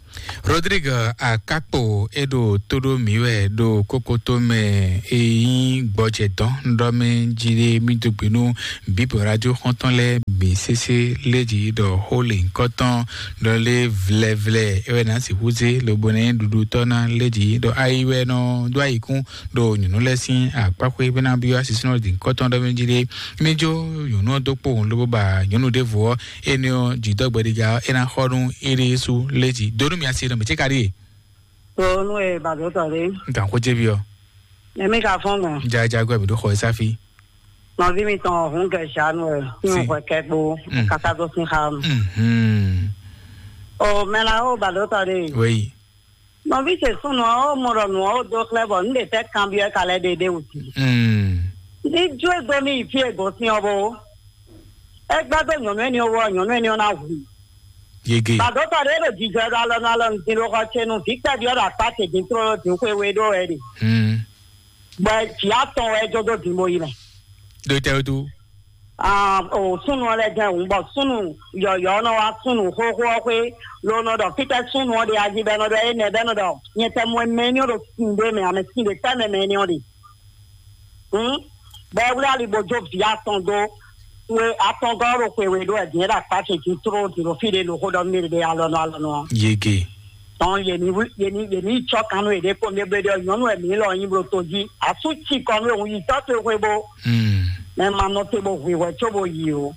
Rodrigue Akakpo e ɖo tó ɖó mǐ wɛ ɖo kókótó mɛ e nyí gbɔjɛ dɔn ɖɔ mɛ jí ɖe mí dó gbe nú Bíbɔ radio xɔ́ntɔn lɛ́ɛ bǐ sésé lé jí ɖɔ xó lěhunkɔtɔn ɖɔ lé vlɛvlɛ é wɛ ná sixú zé lobo ná nyí ɖuɖutɔ́ ná lé jí ɖɔ ayi wɛ nɔ dó ayikún ɖo nyɔ̌nu lɛ́ɛ sín akpáxwé bó ná byɔ́ asisúnɔ ɖi ŋkɔtɔn ɖɔ mɛ jí ɖe. Mí jó nyɔ̌nu ɔ́ dó kpowun lobo ba nyɔ̌nu ɖěvo ɔ́, énɛ́ ɔ́ jǐdɔ́gbɛɖiga ɔ́ é ná xɔ nú éɖée sú lé jí. Dó nú mi asi nɔ mǐ cé ka ɖíe. Tó nú e bàdó tɔ ɖé. N kàn xó jé byɔ́. Nɛmí ka fɔ́n gbɔn. Jajagbɛ mǐ ɖó xɔ e sáfí. Nɔví mitɔn hǔn gɛ zanu ɛ. Nínú Sí. Hwɛ kɛkpo. Mm. Kasa dó sín xa nu. Mhm. O mɛ la ó bàdó tɔ ɖé. Wéyi. Nɔví ce súnnu ɔ́ ó mɔ ɖɔ nǔ ɔ́ ó dó xlɛ́ bɔ nǔ ɖe tɛ́ kanbyɔ́ ɛ ka lɛ́ ɖe ɖé wǔ. Mm. Ní jó e gbé mì yi fí e gosín ɔ́ bó. É gbɛ́ dó nyɔ̌nu énɛ́ ɔ́ wú ɔ́, nyɔ̌nu énɛ́ ɔ́ ná hu. Yege. Bàdó tɔ ɖé ɖo jijɔ ɖo alɔnu alɔnu din ɖo xɔ ce nu vǐ kpɛví ɔ́ ɖo akpá ce din tlóló din xwe we ɖó wɛ ɖe. Mm. Bɔ jǐ atɔn wɛ é jó dó din bó yi mɛ. Ɖo tɛ wútu. Ah, o súnnu ɔ́ lɛ́ jɛ́n hǔn bɔ súnnu yɔ̌yɔ́ ɔ́ nɔ wá súnnu xóxó ɔ́ xwé ló nɔ ɖɔ fítɛ́ súnnu ɔ́ ɖe ají bɛ́ nɔ ɖɔ énɛ́ bɛ́ nɔ ɖɔ nyɛ tɛ mɔ mɛ énɛ́ ɔ́ ɖo sin ɖé mɛ ame sin ɖé tɛ́ mɛ mɛ énɛ́ ɔ́ ɖe. Hǔn bɔ é wlí ali bó jó vǐ atɔn dó we atɔngɔ́ ɖo xwe we ɖó wɛ din é ɖo akpá ce jí tló din ɖo fí ɖé ɖo xó ɖɔ mí ɖe alɔnɔ alɔnɔ ɔ́. Yege. Tɔn yě ní wí- yě ní yě ní cɔ́ kan nú yěɖée kpó mɛ bó ɖɔ nyɔ̌nu wɛ mǐ lɔ nyi bló to jí asú ci kɔ nú òun yi tɔ́ towe xwe bó Hmm. Mɛ ma nɔ te bó hwǐ hwɛ có bó yi o.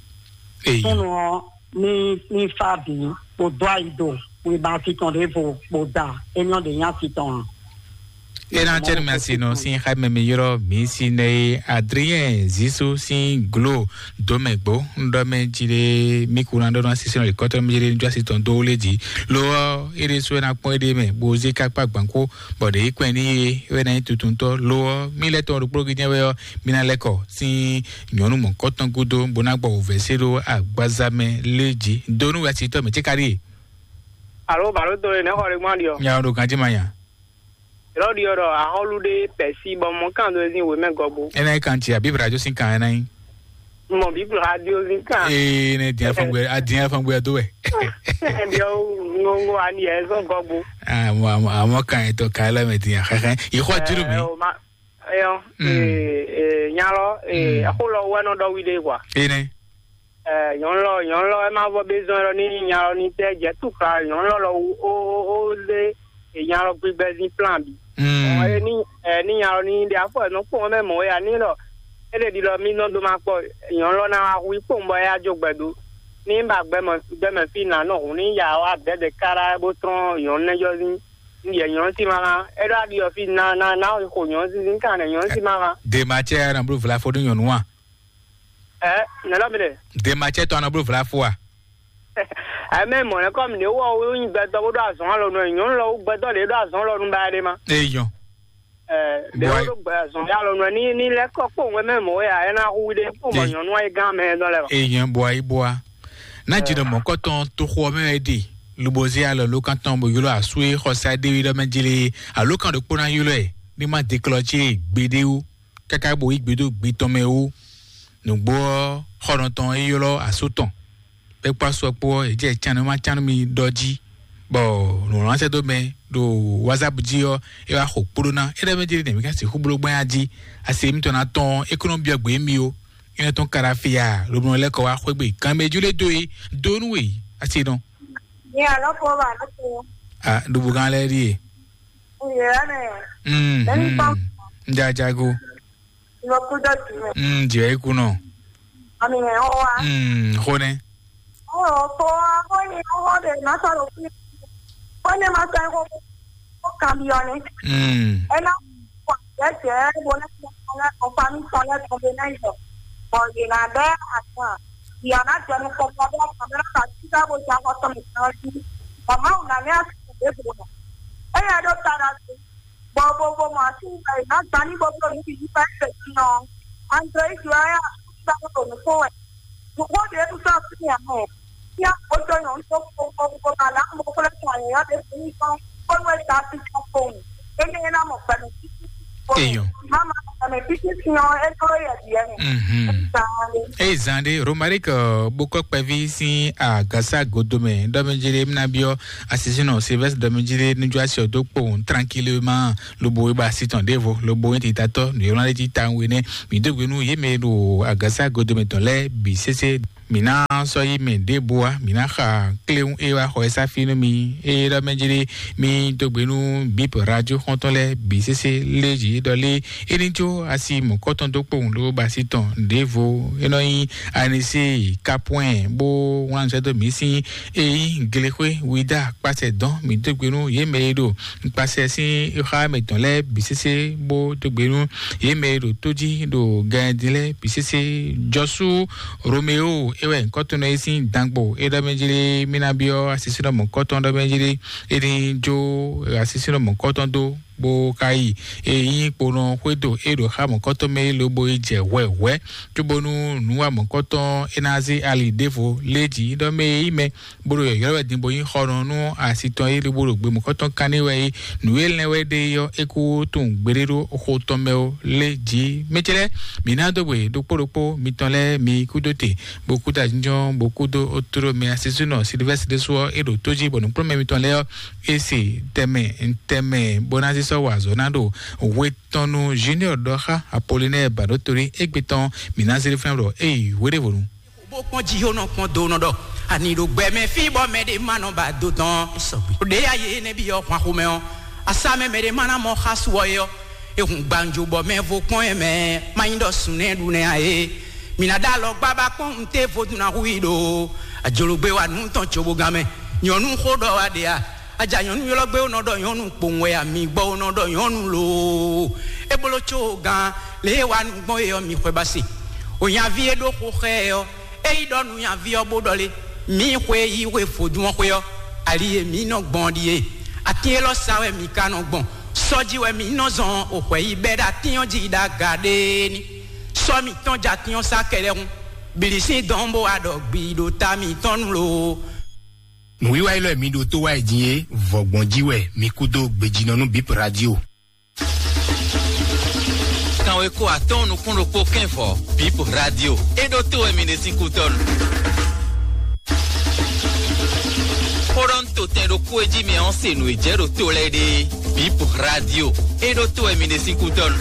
Eyi. Súnnu ɔ́ ní ní fá bǐ bó dó ayi do wěma titɔn ɖěvo bó da é nyɔ́ ɖě nyá titɔn ǎ. Ena cɛnu mɛ asi nɔ sin xa mɛ mi yrɔ mi si nɛ ye Adrien Zisu sin glo do mɛ gbo ndɔ mɛ ji ɖe mi kuna ɖɔ na sisi nɔ le kɔtɔ mi ji ɖe nujɔ asi tɔn do le ji lo ɔ ere so ena kpɔn ede mɛ bo ze kakpa gbanko bɔ ɖe yi kpɛn ni ye wɛ na yi tutuntɔ lo ɔ mi lɛ tɔn ɖokplo gi jɛ wɛ ɔ mi na lɛ kɔ sin nyɔnu mɔ kɔtɔn gudo bo na gbɔ wòvɛ se ɖo agbaza mɛ le ji do nu wɛ asi tɔ mɛ tse ka ɖi ye. Alo balo to ye ne xɔ ɖe gbɔn ɖi ɔ. Nya ɖo ganji ma nya. Lɔ ɖi ɔ ɖɔ ahɔlu ɖe pɛsi bɔ mɔ kan do ezin wemɛ gɔgbo. Ena yi kan tsi abi brajo sin kan ena yi. Mɔ biblu ha di ozin kan. Ee ne diɛ fɔngbe a diɛ fɔngbe do wɛ. Ɛdi ɔ ŋɔŋɔ ani yɛ zɔn gɔgbo. Ah mo mo mo kan eto ka la me diɛ xɛxɛ. Ixɔ juru mi. Eyɔ. Mm. Ee nyalɔ ee Mm. Axo lɔ wɛ nɔ ɖɔ wi ɖe kwa. Ene. Nyɔnu lɔ nyɔnu lɔ ɛ ma vɔ bezɔn lɔ ní nya lɔ ní tɛ jɛ tukla nyɔnu lɔ lɔ ó ó ó lé nya lɔ gbigbɛ zin plan bi. Ɔn ɛ ní ɛ ní nya lɔ ní ɖe afɔ ɛ nɔ kpɔn mɛ mɔ ya ní lɔ é ɖe ɖi lɔ mí nɔ dó ma kpɔ nyɔnu lɔ ná wá hu í kpɔn bɔ é yá jó gbɛ dó ní ba gbɛmɔ gbɛmɛ fí nǎ nɔ hǔn ní ya wá dɛdɛ kára bó trɔn nyɔnu nɛ jɔ zin ní yɛ nyɔnu sí ma ná é ɖo aɖi ɔ fí ná ná ná xo nyɔnu zínzín kan nɛ nyɔnu sí ma ná. Dema cɛ na blu vlafo ɖo nyɔnu wa. Ɛ nɛlɔ mi ɖe. Dema cɛ tɔ na blu vlafo a. Ɛ mɛ mɔ nɛ kɔ mi ɖe wɔ wo nyi gbɛtɔ bó ɖo azɔn alɔ nɔ nyɔnu lɔ wo gbɛtɔ ɖe ɖo azɔn lɔ nu ba ɖe ma. Eyɔn. Ɛ ɖe wo ɖo gbɛ azɔn ya lɔ nɔ ni ni lɛ kɔ kpɔn wɛ mɛ mɔ ya ɛ na hu ɖe kpɔn mɔ nyɔnu ayi gán mɛ dɔ lɛ ma. Eyɔn bɔ ayi bɔ a. Na dzi ɖe mɔkɔtɔn toxo mɛ wɛ ɖe. Lubozi alɔ ló kan tɔn bo ylɔ asu e xɔsa ɖe wi ɖɔ mɛ dzi le alo kan ɖokpó na ylɔ ɛ. Ní má deklɔ tse gbeɖe wo. Káká bo yí gbe dó gbe tɔn mɛ wú. Nǔgbó ɔ́, xɔnɔtɔn e ylɔ́ asú tɔn, bɔ é kpó asú ɔ́ kpó ɔ́, è jɛ cánnu ma cánnu mi ɖɔ jí, bɔ nǔ lɔn sɛ́ dó mɛ ɖo WhatsApp jí ɔ́, é wá xo kpóɖó ná. É ɖɔ mɛ jí ɖé nɛ̌ mí ka sixú bló gbɛ́ jí? Asi mitɔn ná tɔn é kó nɔ byɔ́ gbě mì ó. É nɔ tɔn kára fia, lobo nɔ lɛ́ kɔ wá xwé gbe. Kan mɛ jú lé dó e, dó nú we, asi nɔ. Ní àlọ́ kó wà lóko. Ah, ɖubu gán lɛ́ɛ ɖíe. Ìyá rẹ̀. Mm, Lẹ́yìn mm. Tán. Jajago. Lọ kú dọ̀tí rẹ̀. Mm, jẹ́ ikú náà. Àmì rẹ̀ ó wá. Mm, xó nẹ́. Ó rọ̀ kó wá, ó ní ọwọ́ rẹ̀ má sọ̀rọ̀ fún mi. Ó ní má sọ ẹ̀kọ́ kó kàn bí ọ ni. Mm. Ẹ náà wà jẹ́jẹ́ bó ní kí wọ́n lẹ́kọ̀ọ́ pa mí sọ lẹ́kọ̀ọ́ bí náà yọ. Bọ̀ yìí nà bẹ́ àtàn. Ìyá náà jẹnu kọ̀ọ̀kan bí ọkàn mi náà kà sí sábò sí akọ́tọ̀ mi kan sí. Màmá ò nà ní àsìkò débò náà. Ẹ yẹ ló tara sí. Bɔ bo bo mɔ asi ŋgbɛ yi na gba ní bo bo ní bi yi fɛn fɛ ti nɔ. André yi wɛ ya sa ko do nukun wɛ. Nukun de tu sɔ si ya mɛ. Nya kpódó nyɔ̌nu tó kpokpokpo ná mɔ xwlé tɔn anyǐnyɔ́ ɖé fún mì tɔn, bónú é dó así tɔn kpowun. Énɛ́ ná mɔ gbɛmɛ títí. Eyɔn. Mama gbɛmɛ títí sin ɔ́, é dó yɛ ɖiɛ mɛ. Mhm. Zan ɖé. Eye zan ɖé, Romaric bókɔ kpɛví sín agasa godomɛ ɖɔmɛjiri mna biɔ asisino Sylvestre ɖɔmɛjiri nujuasi ɔdó kpowun tranquillement, lobo é ba asi tɔn ɖěvo, lobo é titatɔ nǔyɔ́lá ɖé ti ta we nɛ. Mi dó gbe nú yě mɛ ɖo agasa godomɛ tɔn lɛ́ɛ bǐ sésé. Mǐ ná sɔ́ yí mɛ ɖěbǔ ǎ, mǐ ná xa kléwún e wá xɔ ɛ sá fí nú mi. Ée ɖɔ mɛ jlé mì dó gbe nú bǐp radio xɔ́ntɔn lɛ́ɛ bǐ sésé lé jǐ ɖɔ lé é ní jó asi mɔ̌kɔ́tɔn dó kpowun ló ba asi tɔn ɖěvo. É nɔ nyí anisée kapwɛn bó wlán nǔsɛ́ dó mǐ sín é nyí glexwé wídá kpasɛ dɔn. Mǐ dó gbe nú yě mɛ e ɖo kpasɛ sín xá mɛtɔn lɛ́ɛ bǐ sésé bó dó gbe nú yě mɛ e ɖo tó jí ɖo gɛn din lɛ́ɛ bǐ sésé. Jɔsú Romeo é wɛ nyǐkɔ tɔn nɔ é sín dangbo é ɖɔ mɛ jlé mí ná byɔ́ asisínɔ mɔ̌kɔtɔn ɖɔ mɛ jlé é ní jó asisínɔ mɔ̌kɔtɔn dó bó ka yi é nyí kponɔ xwédo é ɖo xá mɔ̌kɔtɔn mɛ é lobo yi jɛ hwɛhwɛ cóbónú nǔwa mɔ̌kɔtɔn é ná zé ali ɖěvo lé jǐ ɖɔ mɛ é nyí mɛ bó ɖo yɔ̌yɔ́ wɛ din bó nyí xɔnɔ nú asi tɔn é lobo ɖo gbe mɔ̌kɔtɔn kanní wɛ é. Nǔ e lɛ́n wɛ ɖe ɔ́, é kú tunwun gbeɖé ɖó xo tɔn mɛ ó lé jǐ. Mɛ ce lɛ́ɛ, mǐ ná dó gbe ɖokpó ɖokpó mitɔn lɛ́ɛ mi kúdó te, bó kúdó ajínjɔ́n, bó kúdó ótóɖó mɛ asisúnɔ Silivɛ́si ɖésú ɔ́, é ɖo tó jí, bɔ nǔkplɔ́nmɛ mitɔn lɛ́ɛ ɔ́, é se tɛnmɛ tɛnmɛ bó ná zé sɔ́ wa azɔ̌ ná ɖo hwe tɔn nú Junior ɖɔ xá Apolinɛ́ɛ Baɖótolí égbé tɔn, mǐ ná zé ɖó fínɛ́ ɖɔ éyi hweɖévonu. Bó kpɔ́n jí ó nɔ kpɔ́n do nɔ ɖɔ ani ɖo gbɛ mɛ fí bɔ mɛ ɖé ma nɔ ba do tɔn. Ɖě ya yě nɛ́ byɔ́ hwan xomɛ ɔ́, asá mɛ mɛ ɖé ma ná mɔ xá su ɔ́ é ɔ́, é hun gbàǹjo bɔ mɛ vo kpɔ́n ɛ mɛ má nyí ɖɔ sun nɛ́ ɖu nɛ́ ǎ é. Mǐ ná ɖó alɔ gbábá kpɔ́n un té vodún ná hu i ɖo ajologbé wa nǔ tɔn cobogán mɛ. Nyɔ̌nu xó ɖɔ wa ɖe a? Aja nyɔ̌nu ylɔ́ gbé ó nɔ ɖɔ nyɔ̌nu kpowun wɛ a? Mi gbɔ ó nɔ ɖɔ nyɔ̌nu loo. É bló có gán lě e wa nú gbɔn é ɔ́, mi xwɛ ba se. Onyaví e ɖó xo xá ɛ ɔ́, é yi ɖɔ nú nyaví ɔ́ bó ɖɔ lé: mǐ xwe yi xwe vodún ɔ́ xwé ɔ́, ali e mǐ nɔ gbɔn ɔ́ ɖíe. Atín élɔ́ sa wɛ mǐ ka nɔ gbɔn. Sɔ́ jí wɛ mǐ nɔ zɔn o hwɛ yi bɛ́ ɖo atín ɔ́ jí ɖo aga ɖé ní. Sɔ́ mǐtɔn jɛ atín ɔ́ sá kɛɖɛhun. Bǐlí sín dɔn bó wa ɖɔ gbi ɖo ta mǐtɔn nu loo. Nǔwiwa élɔ́ e mi ɖo tó wá yi din é, vɔ̌gbɔn jí wɛ mi kú dó gbejínɔ nú Bip Radio. Kanweko atɔ́ɔ́n nukún ɖokpó kɛ́n vɔ̌, Bip Radio. É ɖó tó wɛ mi ɖe sín kútɔ́nu. Xó ɖɔ un to tɛn ɖokpó e jí mi ɔ́ se nǔ e jɛ ɖo to lɛ́ɛ ɖe. Bip Radio. É ɖó tó wɛ mi ɖe sín kútɔ́nu.